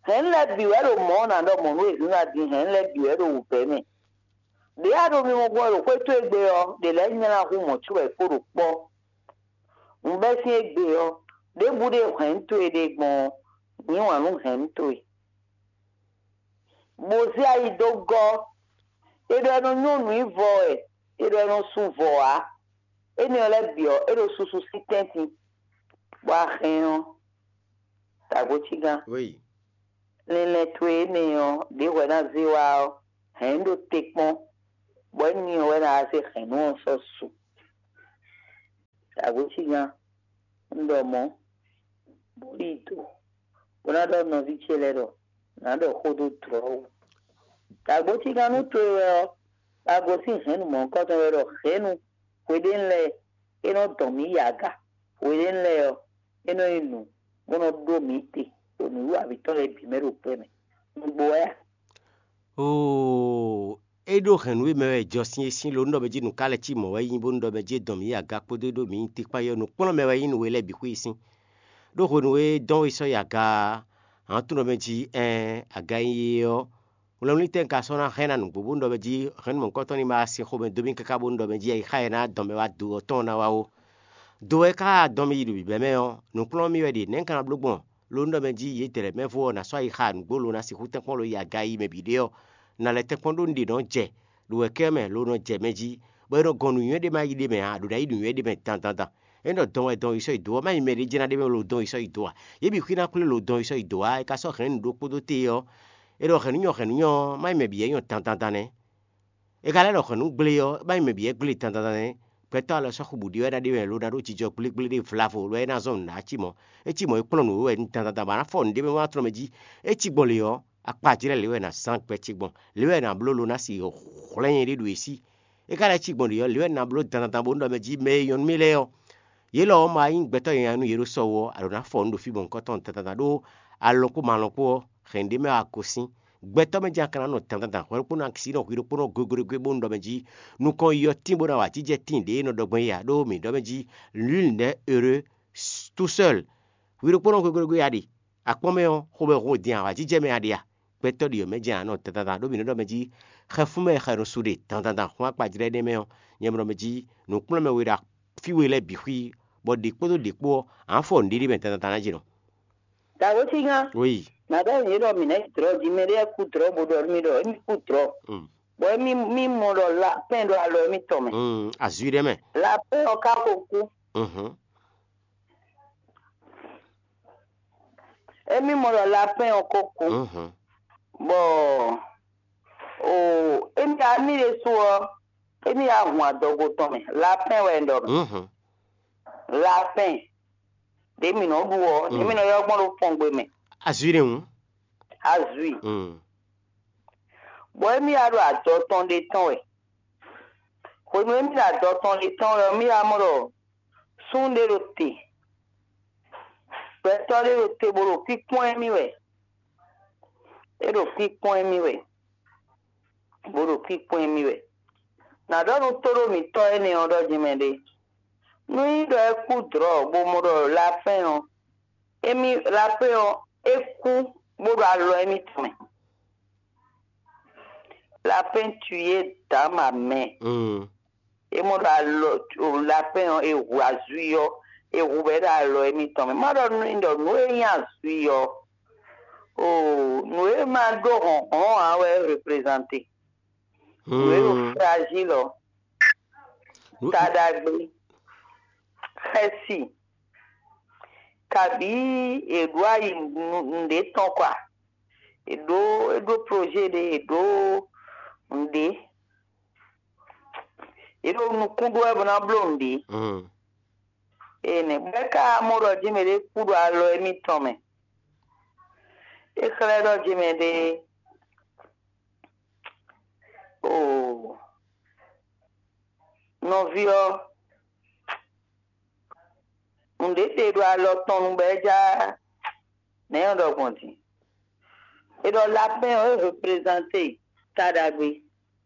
hɛ̌nnu lɛ́ɛ bǐ wɛ ɖo mɔ̌ ɔ́ ná ɖɔ mɔ̌ nú wezun ná dín, hɛ̌nnu lɛ́ɛ bǐ wɛ ɖo wǔvɛ́ mɛ. Ɖě a ɖo mimɔ gbɔn ɖo xwé towe gbe ɔ́, ɖě lɛ́ɛ nylá hú mɔ̌ cóbɔ è kpo ɖo kpɔ́. Un bɛ́ sín égbé ɔ́, ɖěbǔ ɖe hɛ̌nnu towe ɖe gbɔn ɔ́, yǐ wǎn nú hɛ̌nnu towe. Bó zé ayi dó gɔ́. È ɖɔ è nɔ nyɔ́ nǔ nyi vɔ wɛ, è ɖɔ è nɔ su vɔ ǎ. Énɛ́ ɔ́ lɛ́ɛ bǐ ɔ́, é ɖo susu sín tɛ́ntin, bɔ a hɛn ɔ́, dǎgbó cí gán. Oui. Linlɛn towe énɛ́ ɔ́, ɖě hwɛ ná zé wá ɔ́, hɛ̌n ɖó te kpɔ́n. bɔ énɛ́ ɔ́ wɛ ná wá se hɛ̌nnu ɔ́ sɔ́ su. Dǎgbécígán, un ɖɔ mɔ̌, bó ɖi do, bó ná ɖɔ nɔví ce lɛ́ɛ ɖɔ nǎ ɖɔ xó dó dlɔ̌ wú. Dǎgbécígán nú towe wɛ ɔ́, a gosín hɛ̌nnu mɔ̌hunkɔtɔn wɛ ɖɔ hɛ̌nnu hweɖénu lɛ́ɛ é nɔ dɔn mǐ yi aga. Hweɖénu lɛ́ɛ ɔ́, é nɔ nyí nǔ bó nɔ ɖó mǐ te ɖo nǔwiwa mǐtɔn lɛ́ɛ bǐ mɛ ɖo gbɛ mɛ. Nǔgbó wɛ a? Oo, é ɖó hɛ̌nnu e mɛ wɛ jɔ sín é sín lo nú ɖɔ mɛ jí nǔ ka lɛ́ cí mɔ̌ wɛ nyí bónú ɖɔ mɛ jí é dɔn mǐ yi aga kpódó é ɖó mǐ nyi te kpán yi ɔ́, nǔkplɔ́nmɛ wɛ nyí nǔ e lɛ́ɛ bǐ xwé yi sín. Ɖó hwenu e é dɔn we sɔ́ yi aga ǎ, ǎ tunwun ɖɔ mɛ jí ɛɛn aga e nyí é ɔ́, wlɛnwlítɛ́ un ka sɔ́ ná hɛn ná nǔgbó bónú ɖɔ mɛ jí hɛ̌nnu mɔ̌hunkɔtɔn ní ma wá sin xomɛ dó mì káká bónú ɖɔ mɛ jí ayixa e ná dɔn mɛ wá do ɔ́ tɔn ná wá ó. Do wɛ ka dɔn mì yi ɖo bǐbɛ́ mɛ ɔ́, nǔkplɔ́n mì wɛ ɖe, nɛ̌ un ka ná bló gbɔn? Lo nú ɖɔ mɛ jí yědɛɛ lɛ́ɛ mɛ vo ɔ́, ná sɔ́ ayixa nǔgbó lo ná sixú tɛ́nkpɔ́n lo yi aga yi mɛ bǐ ɖé ɔ́, un ná lɛ́ tɛ́nkpɔ́n ɖó un ɖe nɔ́ jɛ ɖo wɛ̌kɛ́ mɛ lo nɔ jɛ mɛ jí, bɔ é nɔ gɔn nǔnywɛ́ ɖé ma yi ɖ'é mɛ ǎ, ɖo ná yi nǔnywɛ́ ɖé mɛ dandandan. É nɔ dɔn wɛ dɔn yi sɔ́ yi dǒ ɔ́, má nyí mɛɖé jɛ́n ná ɖ'é mɛ lo dɔn yi sɔ́ yi dǒ ǎ. Yě bǐ xwí ná kplé lo dɔn yi sɔ́ yi dǒ ǎ, é ka sɔ́ hɛ̌nnu ɖokpó dó te ɔ́, é ɖɔ hɛ̌nnu nyɔ hɛ̌nnu nyɔ ɔ́, má nyí mɛ bǐ wɛ nyɔ dandandan nɛ́. É ka lɛ́ ɖɔ hwɛ̌nnu gblé ɔ́, é má nyí mɛ bǐ wɛ gblé dandandan nɛ́. Gbɛtɔ́ alɔ sɔ́ xu bǔ ɖi wɛ ná ɖe wɛ lo ná ɖó jijɔ gblégblé ɖé vlavo lo wɛ é ná zɔ́n nǔ ná cí mɔ̌. É cí mɔ̌ é kplɔ́n nǔ we wɛ dandandan bɔ a nǎ fɔ nǔɖé mɛ wá tlɔ́n mɛ jí. É cí gbɔn lě ɔ́, akpa jlɛ́ lě wɛ è nǎ zán gbɛ ce gbɔn. Lě wɛ è nǎ bló lo ná si hwlɛ́n nyɛ ɖé ɖo é sí. É ka lɛ́ cí gbɔn lě ɔ́, lě wɛ è nǎ bló dandandan bónú ɖɔ mɛ jí mɛ e nyɔ́ nú mì lɛ́ɛ ɔ́, yě lɔ ɔ́ ma nyí gbɛtɔ́ nyanya nú yě ɖo sɔ wú ɔ́, a ɖǒ ná fɔ nǔ ɖo fí gbɔn nukɔn tɔn dandandan ɖó alɔn kpó malɔn kpó ɔ́, hɛ̌nnu ɖé mɛ wá gosín. Gbɛtɔ́ mɛ jɛ́n a ka ná nɔ dandandan hwɛ ɖokpónɔ akisí nɔ hwi ɖokpónɔ gogóɖégwé bónú ɖɔ mɛ jí nukɔn yi ɔ́ tín bó ná wa jijɛ tíin ɖě e nɔ ɖɔ gbɔn é ǎ, ɖó mǐ ɖɔ mɛ jí nul n'est heureux tout seul. Hwi ɖokpónɔ gogóɖégwé a ɖe, akpɔ́n mɛ ɔ́, xomɛ hun din awǎjijɛ mɛ a ɖe a? Gbɛtɔ́ ɖi ɔ́ mɛ jɛ́n a nɔ dandandan ɖó mǐ nɔ ɖɔ mɛ jí xɛfún mɛ xɛ nɔ su ɖe dandandan xún akpajlɛ́ énɛ́ mɛ ɔ́, nyɛ mɔ ɖɔ mɛ jí nǔkplɔ́nmɛ we ɖo fí we lɛ́ɛ bǐ xwí, bɔ ɖě kpódó ɖě kpó ɔ́, a nǎ fɔ nǔɖiɖi mɛ dandandan ná jɛ nɔ. Dǎwe cí gán. Oui. Nàdá yě ɖɔ mǐ nɛ́ dlɔ̌ jí mɛ ɖé kú dlɔ̌ bó ɖɔ mì ɖɔ émí kú dlɔ̌. Mm. Bɔ émí mí mɔ ɖɔ lapɛ́n ɖo alɔ émítɔn mɛ. Mm, azui ɖé mɛ. Lapɛ́n ɔ́ ka ko kú. Mhm. Émí mɔ ɖɔ lapɛ́n ɔ́ ko kú. Mhm. Bɔ o émí amí ɖésú ɔ́, émí ya hun adɔgo tɔn mɛ. Lapɛ́n wɛ un ɖɔ mɛ. Mhm. Lapɛ́n ɖě mǐ nɔ ɖu ɔ́, ɖě mǐ nɔ ylɔ́ gbɔn ɖo fɔngbe mɛ. Azui ɖé hǔn. Azui. Mm. Bɔ émí ya ɖo adɔ tɔn ɖé tɔn wɛ. Hwenu émí ɖo adɔ tɔn ɖé tɔn wɛ ɔ́, mí ya mɔ ɖɔ súnnu ɖé ɖo te. Gbɛtɔ́ ɖé ɖo te bó ɖo kpíkpɔ́n émí wɛ. É ɖo kpíkpɔ́n émí wɛ. Bó ɖo kpíkpɔ́n émí wɛ. Nǎ ɖɔ nú tóɖó mǐtɔn énɛ́ ɔ́ ɖɔ jɛmɛ ɖé. Nú nyí ɖɔ é kú dlɔ̌ bó mɔ ɖɔ lapɛ́n ɔ́, émí lapɛ́n ɔ́, é kú bó ɖo alɔ émítɔn mɛ. Lapɛ́n tu yé dǎ ma mɛ. Mm. É mɔ ɖo alɔ lapɛ́n ɔ́, é hu azui ɔ́, é hu bɔ é ɖo alɔ émítɔn mɛ. Má ɖɔ nú mi ɖɔ nǔ e nyí azui ɔ́, oo, nǔ e ma ɖó hlɔ̌nhlɔ́n ǎ wɛ é reprezante. Nǔ e ɖo fragile ɔ́, taɖagbe, xɛsi, kabǐ è ɖǒ ayi nǔɖé tɔn kɔ a? È ɖǒ, é ɖó projet ɖé, è ɖǒ nǔɖé, è ɖo nukún ɖó wɛ bó ná bló nǔɖé. Ée nɛ́ bɔ é ka mɔ ɖɔ jɛ́n mɛ ɖé kú ɖo alɔ émítɔn mɛ. É xlɛ́ ɖɔ jɛ́n mɛ ɖé, oo, nɔví ɔ́, nǔɖé ɖe ɖo alɔ tɔn nu bɔ é já nɛ̌ nyɔ́ ɖɔ gbɔn din. È ɖɔ lapɛ́n ɔ́, é reprezante ta ɖagbe.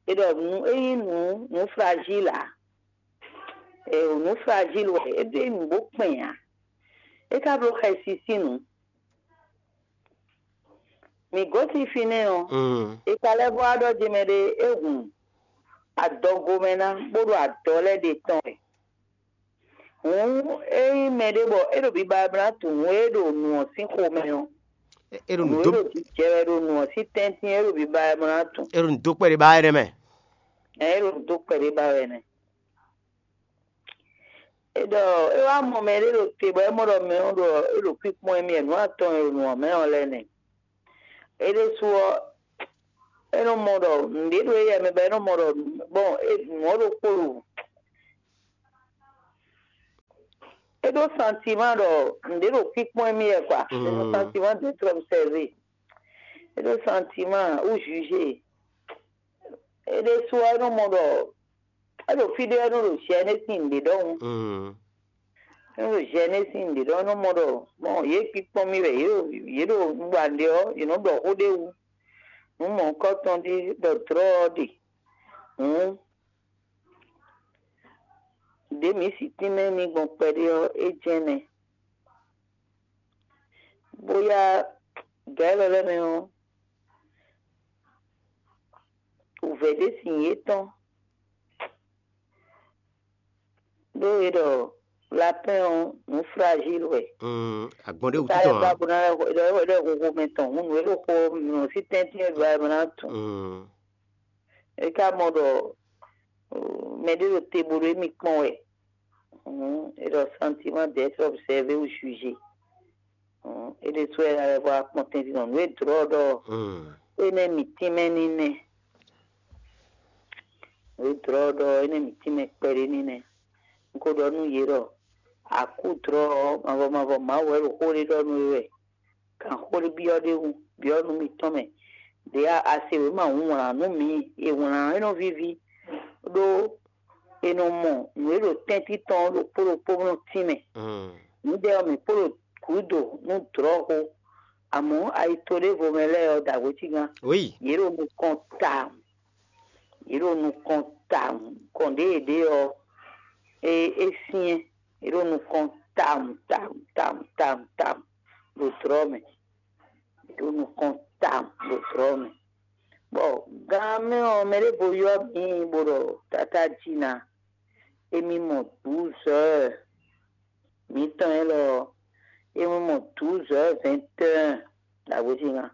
È ɖɔ nǔ é nyí nǔ nǔ fragile ǎ. È nǔ fragile wɛ é ɖó nǔ bó kpɛn ǎ. É ka bló xɛsi sín nǔ. Mǐ gosín fínɛ́ ɔ́, è ka lɛ́ vɔ wá ɖɔ jɛmɛ ɖé é hun adɔgo mɛ ná bó ɖo adɔ lɛ́ɛ ɖe tɔn wɛ. Hǔn ényí mɛɖé bɔ é ɖo biba wɛ bó ná tunwun nǔ e ɖo nǔ ɔ́ sín xomɛ ɔ́, é ɖo nǔ nǔ e dó ɖo jijɛ wɛ ɖo nǔ ɔ́ sín tɛ́ntin é ɖo biba wɛ bó ná tunwun. É ɖo nǔ dó kpɛɖé ba wɛ nɛ́ mɛ. Ɛ é ɖo nǔ dó kpɛɖé ba wɛ nɛ́. É ɖɔ é wá mɔ mɛ ɖé ɖo te bɔ é mɔ ɖɔ mɛ ɔ́ ɖɔ é ɖo kpíkpɔ́n émí wɛ nǔ atɔn e ɖo nǔ ɔ́ mɛ ɔ́ lɛ́ɛ nɛ́. É ɖésú ɔ́, É nɔ mɔ ɖɔ nǔɖé ɖo éyɛ́ mɛ bɔ é nɔ mɔ ɖɔ bɔn nǔ ɔ́ ɖokpó ɖo. É ɖó santiman ɖɔ nǔɖé ɖo kpíkpɔ́n émí wɛ kwa. É ɖó santiman d'être observé. É ɖó santiman ou jugé. É ɖésú ɔ́, é nɔ mɔ ɖɔ é ɖo fí ɖé ɔ́, é nɔ ɖo jɛnɛ́ sín nǔɖé ɖɔhun. É nɔ ɖo jɛnɛ́ sín nǔɖé ɖɔhun, é nɔ mɔ ɖɔ mɔ yě kpíkpɔ́n mì wɛ, yě ɖo yě ɖo nǔɖuɖu ɔ́, yě nɔ ɖɔ xó ɖé wú. Nǔ mɔ̌hunkɔtɔn ɖé ɖɔ dlɔ́ ɔ́ ɖe. Hǔn ɖě mǐ si tínmɛ n'i gbɔn kpɛɖé ɔ́, é jɛ́n nɛ́. Bóyá gǎ élɔ́ lɛ́ɛ mɛ ɔ́, wǔvɛ́ ɖé sin yětɔn, ɖó è ɖɔ lapɛ́n ɔ́, nǔ fragile wɛ. Agbɔn ɖé wútu tɔn ǎ. Bó ná lɛ́ xo- ɖɔ é ɖɔ xóxó mɛ tɔn, hǔn nǔ e ɖo xo nǔ sí tɛ́ntin e ɖo ayɛ mɛ ná tun. É ka mɔ ɖɔ mɛ ɖé ɖo te bó ɖo émí kpɔ́n wɛ. Hǔn è ɖɔ sentiment d'être observé ou jugé. Hǔn é ɖésú wɛ ná lɛ́ vɔ akpɔn tɛ́ntin nɔ nǔ e dlɔ̌ ɖɔ énɛ́ mǐ tínmɛ ní nɛ́. Nǔ e dlɔ̌ ɖɔ énɛ́ mǐ tínmɛ kpɛɖé ní nɛ́. Un ko ɖɔ nú yě ɖɔ akú dlɔ̌ ɔ́, mavɔ mavɔ Mawu wɛ ɖo xó ɖé ɖɔ nú we wɛ. Kan xó ɖé byɔ́ ɖ'é wú, byɔ́ nú mitɔn mɛ. Ɖě a se wěma hǔn wlǎn nú mǐ, è wlǎn é nɔ víví, ɖó è nɔ mɔ nǔ e ɖo tɛ́ntin tɔn ɔ́ ɖokpó ɖokpó nɔ tínmɛ. Nǔɖé ɔ́, mǐ kpo ɖo gǔdo nú dlɔ̌xo, amɔ̌ ayi to ɖěvo mɛ lɛ́ɛ ɔ́, dǎgbécígán, Oui. Yě ɖo nukɔn tawun. Yě ɖo nukɔn tawun. Kɔn ɖě yě ɖe ɔ́, é é syɛ́n. Yě ɖo nukɔn tawun tawun tawun tawun tawun ɖo dlɔ̌ mɛ. Yě ɖo nukɔn tawun ɖo dlɔ̌ mɛ. Bɔ gan mɛ ɔ́, mɛ ɖěvo ylɔ́ mǐ bó ɖɔ tatá jí ná. Émí mɔ douze heures mǐtɔn élɔ́ ɔ́, émí mɔ douze heures vingt et un ɖo agbéjíngan.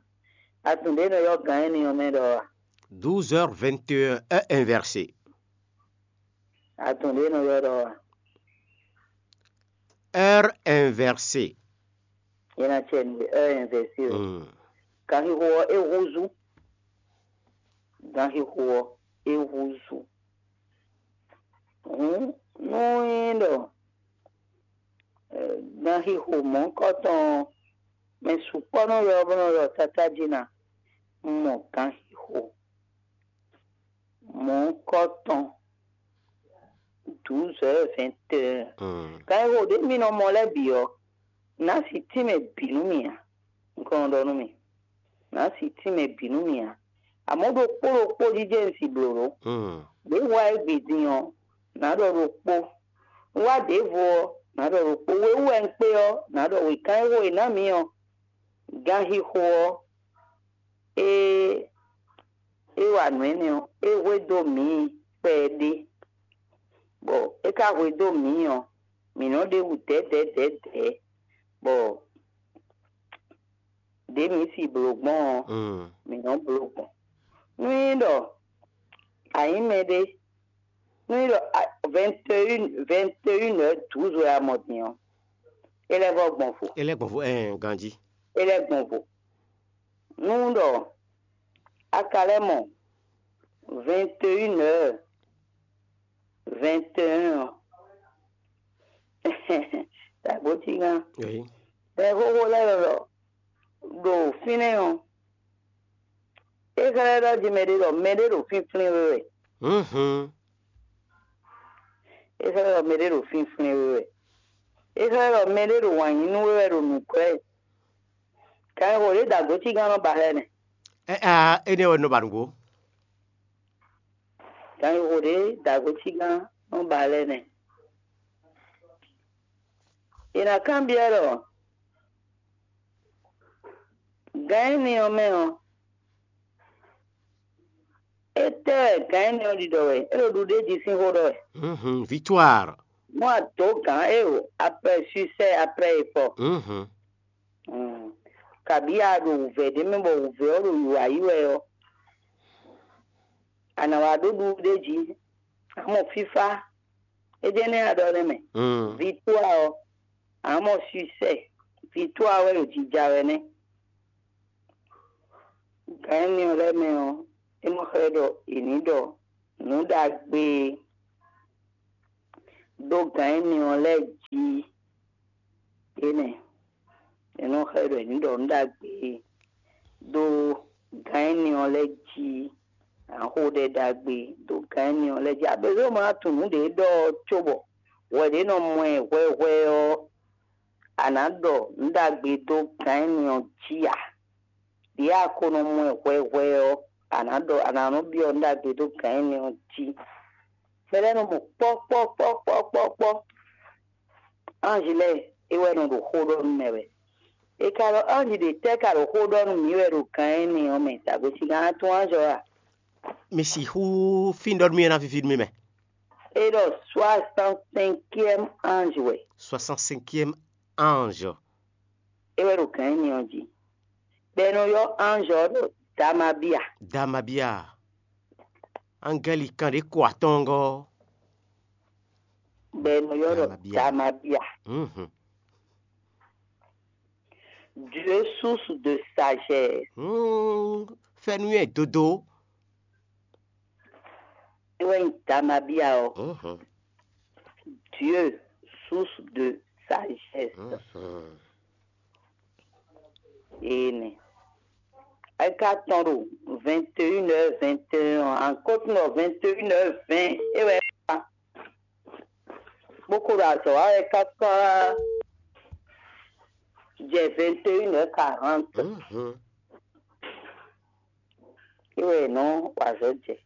Atun ɖě nɔ ylɔ́ gan énɛ́ ɔ́ mɛ ɖɔ a? Douze heures vingt et un, heure inversée. Atun ɖě nɔ ylɔ́ ɖɔ a? Heure inversée. Yɛn na cɛ nú heure inversée o. Ganxixo ɔ́ é húzú. Ganxixo ɔ́ é húzú. Hǔn nú é nyí ɖɔ ganxixo mɔ̌hunkɔtɔn ɔ́, mɛ sukpɔ́ nɔ ylɔ́ bó nɔ ylɔ́ tatá jí ná, un mɔ ganxixo mɔ̌hunkɔtɔn douze heures vingt et un. Ganxixo ɖě mi nɔ mɔ lɛ́ɛ bǐ ɔ́, nǎ si tínmɛ bǐ nú mì ǎ. Un kɔn nɔ ɖɔ nú mì, nǎ si tínmɛ bǐ nú mì ǎ. Amɔ̌ ɖokpó ɖokpó jijɛ un si blǒ ɖó. Ɖě wa é gbe din ɔ́, nǎ ɖɔ ɖokpó. Un wá ɖěvo ɔ́, nǎ ɖɔ ɖokpó. We wú wɛ un kpé ɔ́, nǎ ɖɔ wěkan e xo è nǎ mǐ ɔ́, ganxixo ɔ́, é é wa nǔ énɛ́ ɔ́, é hwedó mǐ kpɛɖé, bɔ é ka hwedó mǐ ɔ́, mǐ nɔ́ ɖe wǔ dɛ̌dɛ̌dɛ̌dɛ̌, bɔ ɖě mǐ si blǒ gbɔn ɔ́, mǐ nɔ́ bló gbɔn. Nú nyí ɖɔ a nyǐ mɛɖé, nú nyí ɖɔ vingt et un vingt et un heures douze wɛ a mɔ din ɔ́, é lɛ́ vɔ gbɔn vo. É lɛ́ gbɔn vo ɛɛ ganjí. É lɛ́ gbɔn vo. Nú ɖɔ a ka lɛ́ mɔ vingt et un heures vingt et un ɔ́, dǎgbócígán, Eyi. Mɛ xóxó lɛ́ɛ lɔ ɖo fínɛ́ ɔ́, é xlɛ́ ɖɔ jí mɛɖé ɖɔ mɛɖé ɖo fínflín we wɛ. Mhm. É xlɛ́ ɖɔ mɛɖé ɖo fínflín we wɛ. É xlɛ́ ɖɔ mɛɖé ɖo wǎn yí nú we wɛ ɖo nǔglɛ́. Kan e xo ɖě dǎgbócígán nɔ ba xlɛ́ nɛ́. Ɛ a énɛ́ wɛ nɔ ba nǔgbó. Kan e xo ɖě dǎgbócígán nɔ ba xlɛ́ nɛ́. È nǎ kanbyɔ́ ɖɔ gǎn énɛ́ ɔ́ mɛ ɔ́, étɛ́ wɛ gǎn énɛ́ ɔ́ ɖiɖɔ wɛ? É ɖo ɖuɖéjí sín xó ɖɔ wɛ. Mhm, victoire. Mɔ adǒ gǎn éo, après succès, après effort. Mhm. Kabǐ a ɖo wǔvɛ́ ɖé mɛ bɔ wǔvɛ́ ɔ́ ɖo wǐwá yi wɛ ɔ́, a nǎ wá ɖó ɖuɖéjí, a mɔ fífá, é jɛ́n nɛ́ a ɖɔ nɛ́ mɛ. Victoire ɔ́, a mɔ succès, victoire wɛ ɖo jija wɛ nɛ́. Gǎn énɛ́ ɔ́ lɛ́ɛ mɛ ɔ́, É nɔ xlɛ́ ɖɔ è nǐ ɖɔ nǔ ɖagbe e ɖó gǎn énɛ́ ɔ́ lɛ́ɛ jí. Énɛ́ è nɔ xlɛ́ ɖɔ è nǐ ɖɔ nǔ ɖagbe e ɖó gǎn énɛ́ ɔ́ lɛ́ɛ jí. Ǎ xo ɖɛ ɖagbe ɖó gǎn énɛ́ ɔ́ lɛ́ɛ jí. Abězó ma tunwun nǔ ɖě ɖɔ ɔ́ cóbɔ hwɛ ɖě nɔ mɔ ɛ hwɛhwɛ ɔ́, a nǎ ɖɔ nǔ ɖagbe dó gǎn énɛ́ ɔ́ jí ǎ. Ɖě a ko nɔ mɔ ɛ hwɛhwɛ ɔ́, a nǎ ɖɔ a nǎ nɔ byɔ́ nǔ ɖagbe dó gǎn énɛ́ ɔ́ jí. Mɛ lɛ́ɛ nɔ mɔ kpɔ́kpɔ́kpɔ́kpɔ́kpɔ́. Anji lɛ́ɛ é wɛ nɔ ɖo xó ɖɔ nú mɛ wɛ. É ka ɖɔ anji ɖě tɛ́ ka ɖo xó ɖɔ nú mǐ wɛ ɖo gǎn énɛ́ ɔ́ mɛ, dǎgbé sigan tunwun anjɔ a? Mi sixú fí ɖɔ nú mì é ná víví nú mì mɛ. É ɖɔ soixante-cinquième ange wɛ. Soixante-cinquième ange. É wɛ ɖo gǎn énɛ́ ɔ́ jí. Bɔ è nɔ ylɔ́ ange ɔ́ ɖɔ Damabia. Damabia. Angɛli kan ɖě ko atɔ́ngɔ́. Bɔ è nɔ ylɔ́ ɖɔ Damabia. Damabia. Mhm. Dieu, source de sagesse. Hmm, fɛ́nú ɛ dodo. É wɛ nyí Damabia ɔ́. Mhm. Dieu, source de sagesse. Mhm. Énɛ́. É ka tɔn ɖo vingt et une heures vingt et un ɔ́, ankɔ́tɔn ɖɔ vingt et une heures vingt é wɛ é wá. Bó ko ɖo azɔ̌ wa wɛ káká jɛ vingt et une heures quarante. Mhm. É wɛ è nɔ wa azɔ̌ jɛ.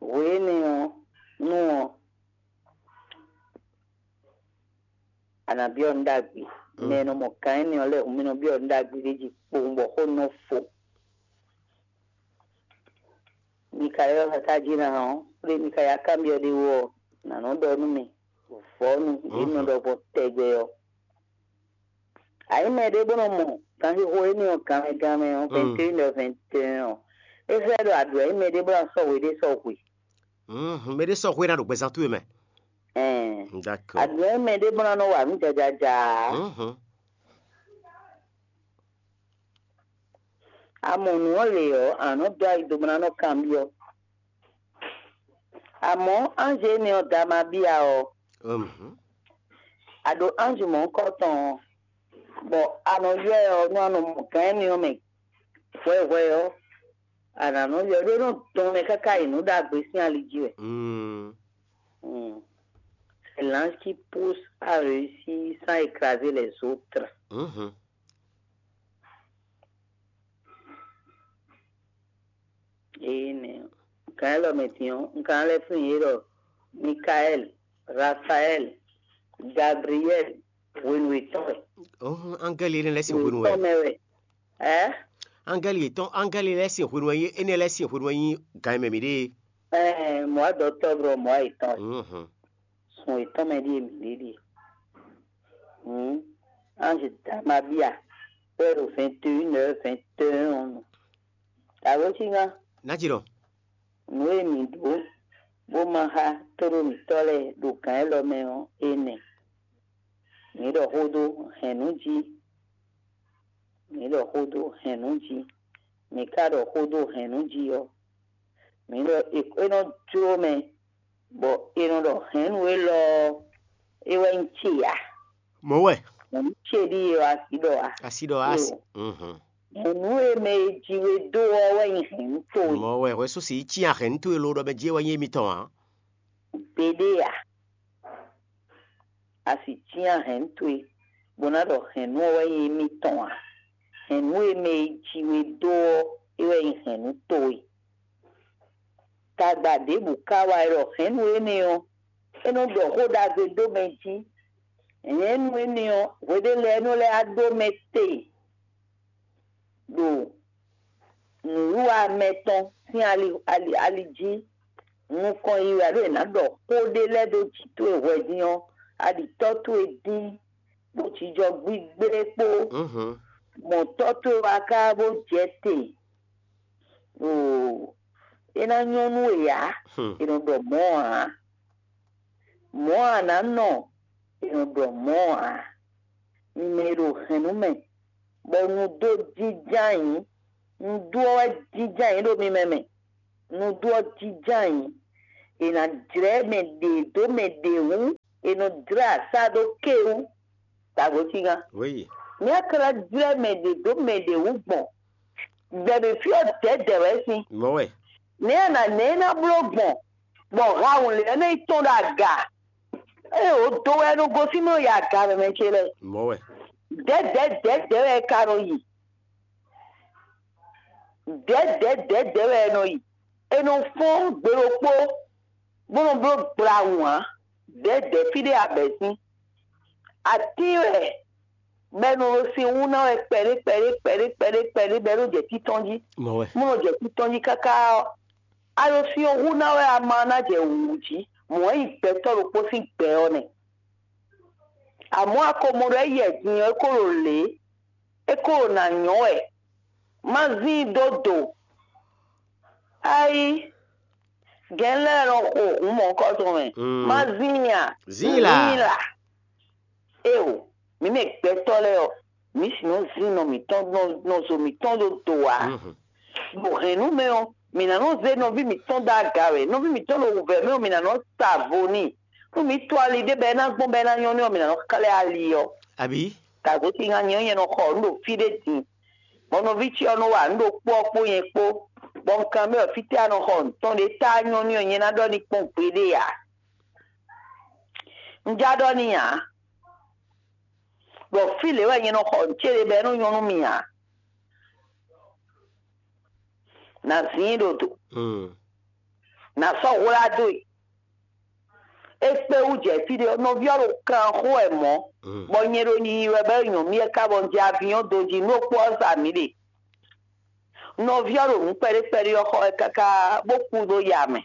Hwe énɛ́ ɔ́, nú ɔ́, a nǎ byɔ́ nǔ ɖagbe. Mm. Mɛ e nɔ mɔ gǎn énɛ́ ɔ́ lɛ́ɛ hǔn mì nɔ byɔ́ nǔ ɖagbe ɖé jí kpowun bɔ xó nɔ fo. Mikayɔ́ káká jí ná ɔ́, kplé Mikayá kanbyɔ́ ɖé wú ɔ́, nǎ nɔ ɖɔ nú mì vɔ̌nu ɖě nɔ ɖɔ gbɔn tɛgbɛ ɔ́. Ayǐ mɛ ɖé bó nɔ mɔ ganxixo énɛ́ ɔ́ ganmɛ ganmɛ ɔ́, vingt et une heures vingt et un ɔ́, é xlɛ́ ɖɔ aɖǔ ayǐ mɛ ɖé bó ná sɔ́ hwe ɖé sɔ́ hwe. Mhm, mɛ ɖé sɔ́ hwe ná ɖo gbɛzán towe mɛ. Ɛn. D'accord. Aɖǔ ayǐ mɛ ɖé bó ná nɔ wa nǔ jajaja. Mhm. A mɔ nǔ ɔ́ lě ɔ́, a nǎ nɔ dó ayi do bó ná nɔ kanbyɔ́. Amɔ̌, anji énɛ́ ɔ́ da ma bia ɔ́, Mhm. A ɖo anji mɔ̌hunkɔtɔn ɔ́, bɔ a nɔ ylɔ́ ɛ ɔ́, nú a nɔ mɔ gǎn énɛ́ ɔ́ mɛ hwɛhwɛ ɔ́, a nǎ nɔ ylɔ́ ɛ ɖó é nɔ dɔn mɛ káká yi nǔ ɖagbe sín ali jí wɛ. Mm. Mm. C'est l'ange qui pousse à réussir sans écraser les autres. Mhm. Énɛ́ ɔ́, gǎn élɔ́ mɛ din ɔ́, un ka ná lɛ́ flín yě ɖɔ Mikaɛ́li, Rafaɛ́li, Gabliyɛ́li, hwenu yětɔn wɛ. Ɔ́hún, angɛ́li énɛ́ lɛ́ɛ sín hwenu wɛ. Yětɔn mɛ wɛ. Ɛ? Angɛ́li yětɔn, angɛ́li lɛ́ɛ sín hwenu wɛ nyí, énɛ́ lɛ́ɛ sín hwenu wɛ nyí gǎn e mɛ mǐ ɖe é. Ɛɛ, mɔ̌ wa dɔ tɔ́ blɔ mɔ̌ wa yětɔn wɛ. Mhm. Sun yětɔn mɛ ɖíe mǐ ɖe ɖíe. Hǔn, anji Damabia wɛ ɖo vingt et une heures vingt et un ɔ́ nu. Dǎwe síngán. Ná ci ɖɔ. Nǔ e mǐ ɖó bó ma xá tóɖó mǐtɔn lɛ́ɛ ɖo gǎn élɔ́ mɛ ɔ́, é nɛ́. Mǐ ɖɔ xó dó hɛ̌nnu jí. Mǐ ɖɔ xó dó hɛ̌nnu jí. Mǐ ka ɖɔ xó dó hɛ̌nnu jí ɔ́, mǐ ɖɔ è- é nɔ jló mɛ, bɔ è nɔ ɖɔ hɛ̌nnu élɔ́ ɔ́, é wɛ nyí ce ǎ. Mɔ̌ wɛ. Hɛ̌nnu ce ɖíe ɔ́, asi ɖɔ ǎ. Asi ɖɔ asi. Lo. Mhm. Hɛ̌nnu e mɛ e ji we dó ɔ́ wɛ nyí hɛ̌nnu towe. Mɔ̌ wɛ, hwɛ̌ sú si yi cyán hɛ̌nnu towe lo ɖɔ mɛ jí é wɛ nyí émítɔn ǎ. Gbeɖé ǎ. A sì cyán hɛ̌nnu towe, bó ná ɖɔ hɛ̌nnu ɔ́ wɛ nyí émítɔn ǎ. Hɛ̌nnu e mɛ e ji we dó ɔ́, é wɛ nyí hɛ̌nnu towe. Tagba ɖěbǔ ka wá wɛ ɖɔ hɛ̌nnu énɛ́ ɔ́, é nɔ ɖɔ xó ɖagbe dó mɛ jí. Hɛ̌nnu énɛ́ ɔ́, hweɖé lɛ́ɛ é nɔ lɛ́ wá ɖó mɛ te ɖo nǔwiwa mɛtɔn sín ali, ali, ali jí. Nukɔn yi wɛ ɖó è nǎ ɖɔ xó ɖé lɛ́ɛ dó jǐ towe hwɛ dín ɔ́, a ɖi tɔ́ towe dín, bó jijɔ gbígbé kpó. Mhm. Mɔ tɔ́ towe wá ká bó jɛ te. Oo, é ná nyɔ́ nú we ǎ. Hmm. È nɔ ɖɔ mɔ̌ ǎ. Mɔ̌ a nǎ nɔ, è nɔ ɖɔ mɔ̌ ǎ. Mi mɛ e ɖo hɛ̌nnu mɛ, bɔ nu dó jínjɔ́n ayǐ, Nǔɖuɖu ɔ́ wɛ jínjɔ́n ayǐ ɖo mi mɛ mɛ. Nǔɖuɖu ɔ́ jínjɔ́n ayǐ. È nǎ jlɛ́ mɛ ɖě dó mɛ ɖě wú. È nɔ jlɛ́ asá ɖó ké wú. Dǎgbó cígán. Wéyi. Ní a ka ná jlɛ́ mɛ ɖě dó mɛ ɖě wú gbɔn, gbɛ̌ ɖě fí ɔ́ dɛ̌dɛ̌ wɛ sín. Mɔ̌ wɛ. Nɛ̌ a nǎ nɛ̌ é ná bló gbɔn, bɔ hawun lě ɔ́ nɔ yi tɔ́n ɖo aga? Ée wǒ dó wɛ é nɔ gosín nɔ yi aga mɛmɛ ce lɛ́ɛ. Mɔ̌ wɛ. Dɛ̌dɛ̌ dɛ̌dɛ̌ wɛ é ka nɔ yi. Dɛ̌dɛ̌ dɛ̌dɛ̌ wɛ é nɔ yi. È nɔ fɔ́n gbe ɖokpó, bó nɔ bló gbla wǎn. Dɛ̌dɛ̌ fí ɖé abɛ̌ sín. Atín wɛ, bɔ è nɔ ɖo sin wú ná wɛ kpɛɖé kpɛɖé kpɛɖé kpɛɖé kpɛɖé bɔ é nɔ jɛ títɔn jí. Mɔ̌ wɛ. Bó nɔ jɛ títɔn jí káká ɔ́, a ɖo sin ɔ́ hú ná wɛ ama ɔ́ ná jɛ wǔwú jí. Mɔ̌ wɛ nyí gbɛtɔ́ ɖokpó sín gbɛ ɔ́ nɛ́. Amɔ̌ a ko mɔ ɖɔ é yɛ din ɔ́, é ko ɖo lě, é ko ɖo nǎ nyɔ́ wɛ. Má zín i dó do. Ayi, gɛ̌n lɛ́ɛ nɔ xo hǔn mɔ̌hunkɔtɔn mɛ. Mm. Má zín i a? Zín i la. Zín i la. Éeǒ, mǐ mɛ gbɛtɔ́ lɛ́ɛ ɔ́, mǐ sixú nɔ zín nɔ mǐtɔn nɔ nɔ zo mǐtɔn ɖó do ǎ. Mhm. Ɖo hɛ̌nnu mɛ ɔ́, mǐ ná nɔ zé nɔví mǐtɔn dó aga wɛ. Nɔví mǐtɔn ɖo wǔvɛ́ mɛ ɔ́, mǐ ná nɔ sa vo n'i. Nú mǐ to ali ɖé bɔ é ná gbɔn bɔ é ná nyɔ́ n'i ɔ́, mǐ ná nɔ xlɛ́ ali ɔ́. Abǐ? Dǎgbó ce nya nyɛ ɔ́, nyɛ nɔ xɔ nǔ ɖo fí ɖé din, bɔ nɔví ce ɔ́ nɔ wa nǔ ɖokpó ɔ́ kpó nyɛ kpó, bɔ un kanbyɔ́ fítɛ́ a nɔ xɔ nǔ tɔn ɖé tá nyɔ́ n'i ɔ́, nyɛ ná ɖɔ n'i kpɔ́n gbeɖé ǎ. Un já ɖɔ n'i ǎ, ɖɔ fí lě wɛ nyɛ nɔ xɔ nǔ ce ɖe bɔ é nɔ nyɔ́ nú mì ǎ. Nǎ zín i ɖo do, Mm. nǎ sɔ́ hwlá dó e. É kpé wú jɛ fí ɖé ɔ́, nɔví ɔ́ ɖo kan xó wɛ mɔ̌, Mm. bɔ nyɛ ɖo yiyi wɛ bɔ é nyɔ̌ mì é ká bɔ un jɛ avinyɔ́ dó jí nú é kpó ɔ́ sa mǐ ɖe. Nɔví ɔ́ ɖo nǔ kpɛɖé kpɛɖé ɔ́ xɔ wɛ káká bó kú ɖó ya mɛ.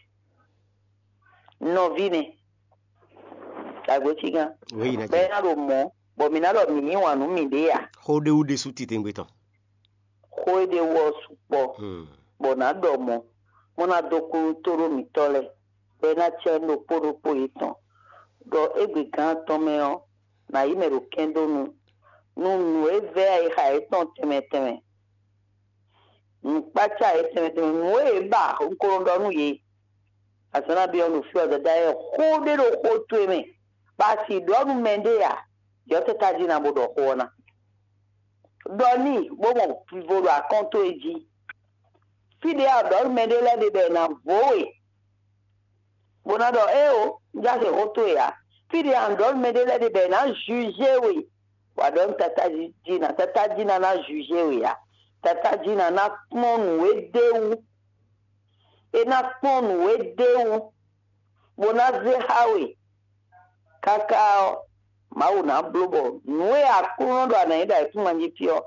Nɔví nɛ́, dǎgbó cígán, Wěyi ná bɔ é jɛ. Ná ɖo mɔ̌, bɔ mǐ ná ɖɔ mǐ yí wǎn nú mǐɖée ǎ. Xó ɖé wú ɖésú titewungbe tɔn. Xó e ɖe wú ɔ́ sukpɔ́, Hmm. bɔ nǎ ɖɔ mɔ̌, bó ná dó kú nú tóɖó mǐtɔn lɛ́ɛ, bɔ é ná cɛ nú ɖokpó ɖokpó yětɔn, ɖɔ égbé gǎn atɔn mɛ ɔ́, nǎ yí mɛ ɖo kɛ́n dó nu, nú nǔ e vɛ́ ayixa yětɔn tɛnmɛ tɛnmɛ. Nǔkpácá yě tɛnmɛ tɛnmɛ, nǔ e yě ba un ko nɔ ɖɔ nú yě. Azǎn nabí ɔ́ ɖo fí ɔ́, Dadá lɛ́ɛ, xó ɖé ɖo xó towe mɛ, bɔ a si ɖɔ nú mɛɖé ǎ, yɔ̌ tata jí ná bó ɖɔ xó ɔ́ ná. Ɖɔ n'i, bó mɔ vivo ɖo akɔ́n towe jí. Fí ɖě a ɖɔ nú mɛɖé lɛ́ɛ ɖe bɔ è nǎ vo we, bó ná ɖɔ éeǒ, un já se xó towe ǎ. Fí ɖě a ɖɔ nú mɛɖé lɛ́ɛ ɖe bɔ è nǎ jujé we, wǎ ɖɔ nú tata jí ná, tata jí ná ná jujé we ǎ. Tata jí ná ná kplɔ́n nǔ e d'é wú. É ná kplɔ́n nǔ e d'é wú, bó ná zé xá we. Káká ɔ́, Mawu ná bló bɔ nǔ e Aklúnɔ ɖɔ a nǎ nyí ɖo ayǐkúngban jí fí ɔ́,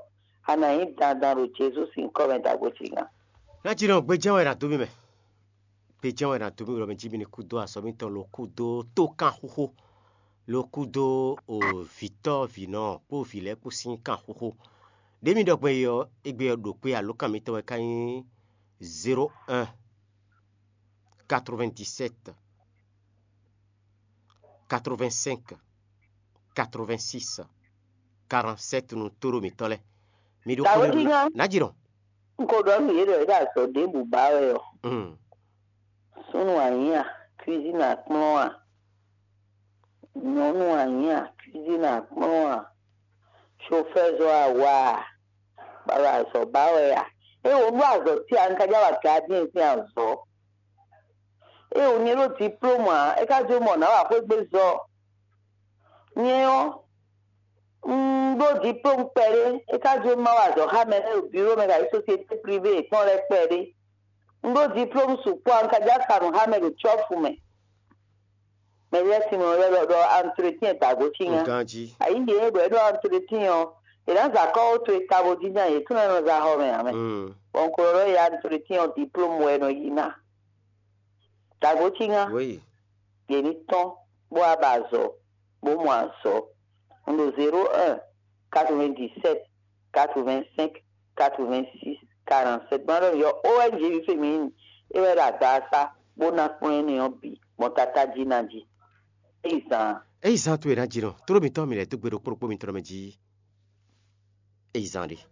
a nǎ nyí dandan ɖo Jezu sín nyǐkɔ mɛ ɖagbe fígán. Ná jí nɔ gbejɛ́n wɛ è nǎ dó mì mɛ. Gbejɛ́n wɛ è nǎ dó mì ɖɔ mɛ jí mi ní kú dó azɔ̌ mitɔn lo kú dó tókanxóxó, lo kú dó o vǐtɔ́ vǐnɔ kpó vǐ lɛ́ɛ kpó sín kanxóxó. Ɖě mi ɖɔ gbɔn é ɔ́, égbé ɔ́ ɖo kpé alǒkan mitɔn wɛ ka nyí zéro un, quatre-vingt-dix-sept, quatre-vingt-cinq, quatre-vingt-six, quarante-sept nú tóɖó mǐtɔn lɛ́ɛ. Mi ɖó Dǎwe xó ɖé kíngán. Ná jí nɔ. Un ko ɖɔ nú yě ɖɔ yě ɖo azɔ̌ ɖěbǔ ba wɛ ɔ́. Mm. Súnnu anyǐ a, cuisine akplɔ́n a, nyɔ̌nu anyǐ a, cuisine akplɔ́n a, chauffeur zɔ́ a wa a, bɔ a ɖo azɔ̌ ba wɛ a? Ée wǒ ɖó azɔ̌ ce a, un ka já wa gardien sín azɔ̌. Ée wǒ nyɛ ɖó diplôme ǎ, é ka jó mɔ nǎ wa xwé gbe zɔ. Nyɛ ɔ́, un ɖó diplôme kpɛɖé, é ka jó má wa azɔ̌ xá mɛ lɛ́ɛ ɖo bureau mɛ kayi société privée yětɔn lɛ́ɛ kpɛɖé. Un ɖó diplôme sukpɔ́, un ka já sa nǔ xá mɛ ɖo cɔ́fu mɛ. Mɛ lɛ́ɛ sin mɛ lɛ́ɛ ɖɔ ɖɔ entretien dǎgbo cí nya. Nkan jí. Ayǐ ɖě bɔ é ɖɔ entretien ɔ́, è nǎ za kɔ́ ó to e ka bo jínjɔ́n yě tún nɔ za xɔ mɛ ǎ mɛ. Mm. Bɔ un ko ɖɔ ɖɔ ya entretien ɔ́ diplôme wɛ è nɔ yí ná. Dǎgbo cí nya. Oui. Yě ní tɔ́n bó wá ba azɔ̌, bó mɔ azɔ̌. Un ɖo zéro un, quatre-vingt-dix-sept, quatre-vingt-cinq, quatre-vingt-six, quarante-sept. Gbɔn ɖɔ yɔ O N G bi féminin, é wɛ ɖo agbasa bó ná kplɔ́n énɛ́ ɔ́ bǐ gbɔn tata jí ná jí. É yi zan. É yi zan towe ná jí nɔ. Tló mitɔn mi lɛ́ dó gbe ɖokpó ɖokpó mitɔn mɛ jí. É yi zan ɖe.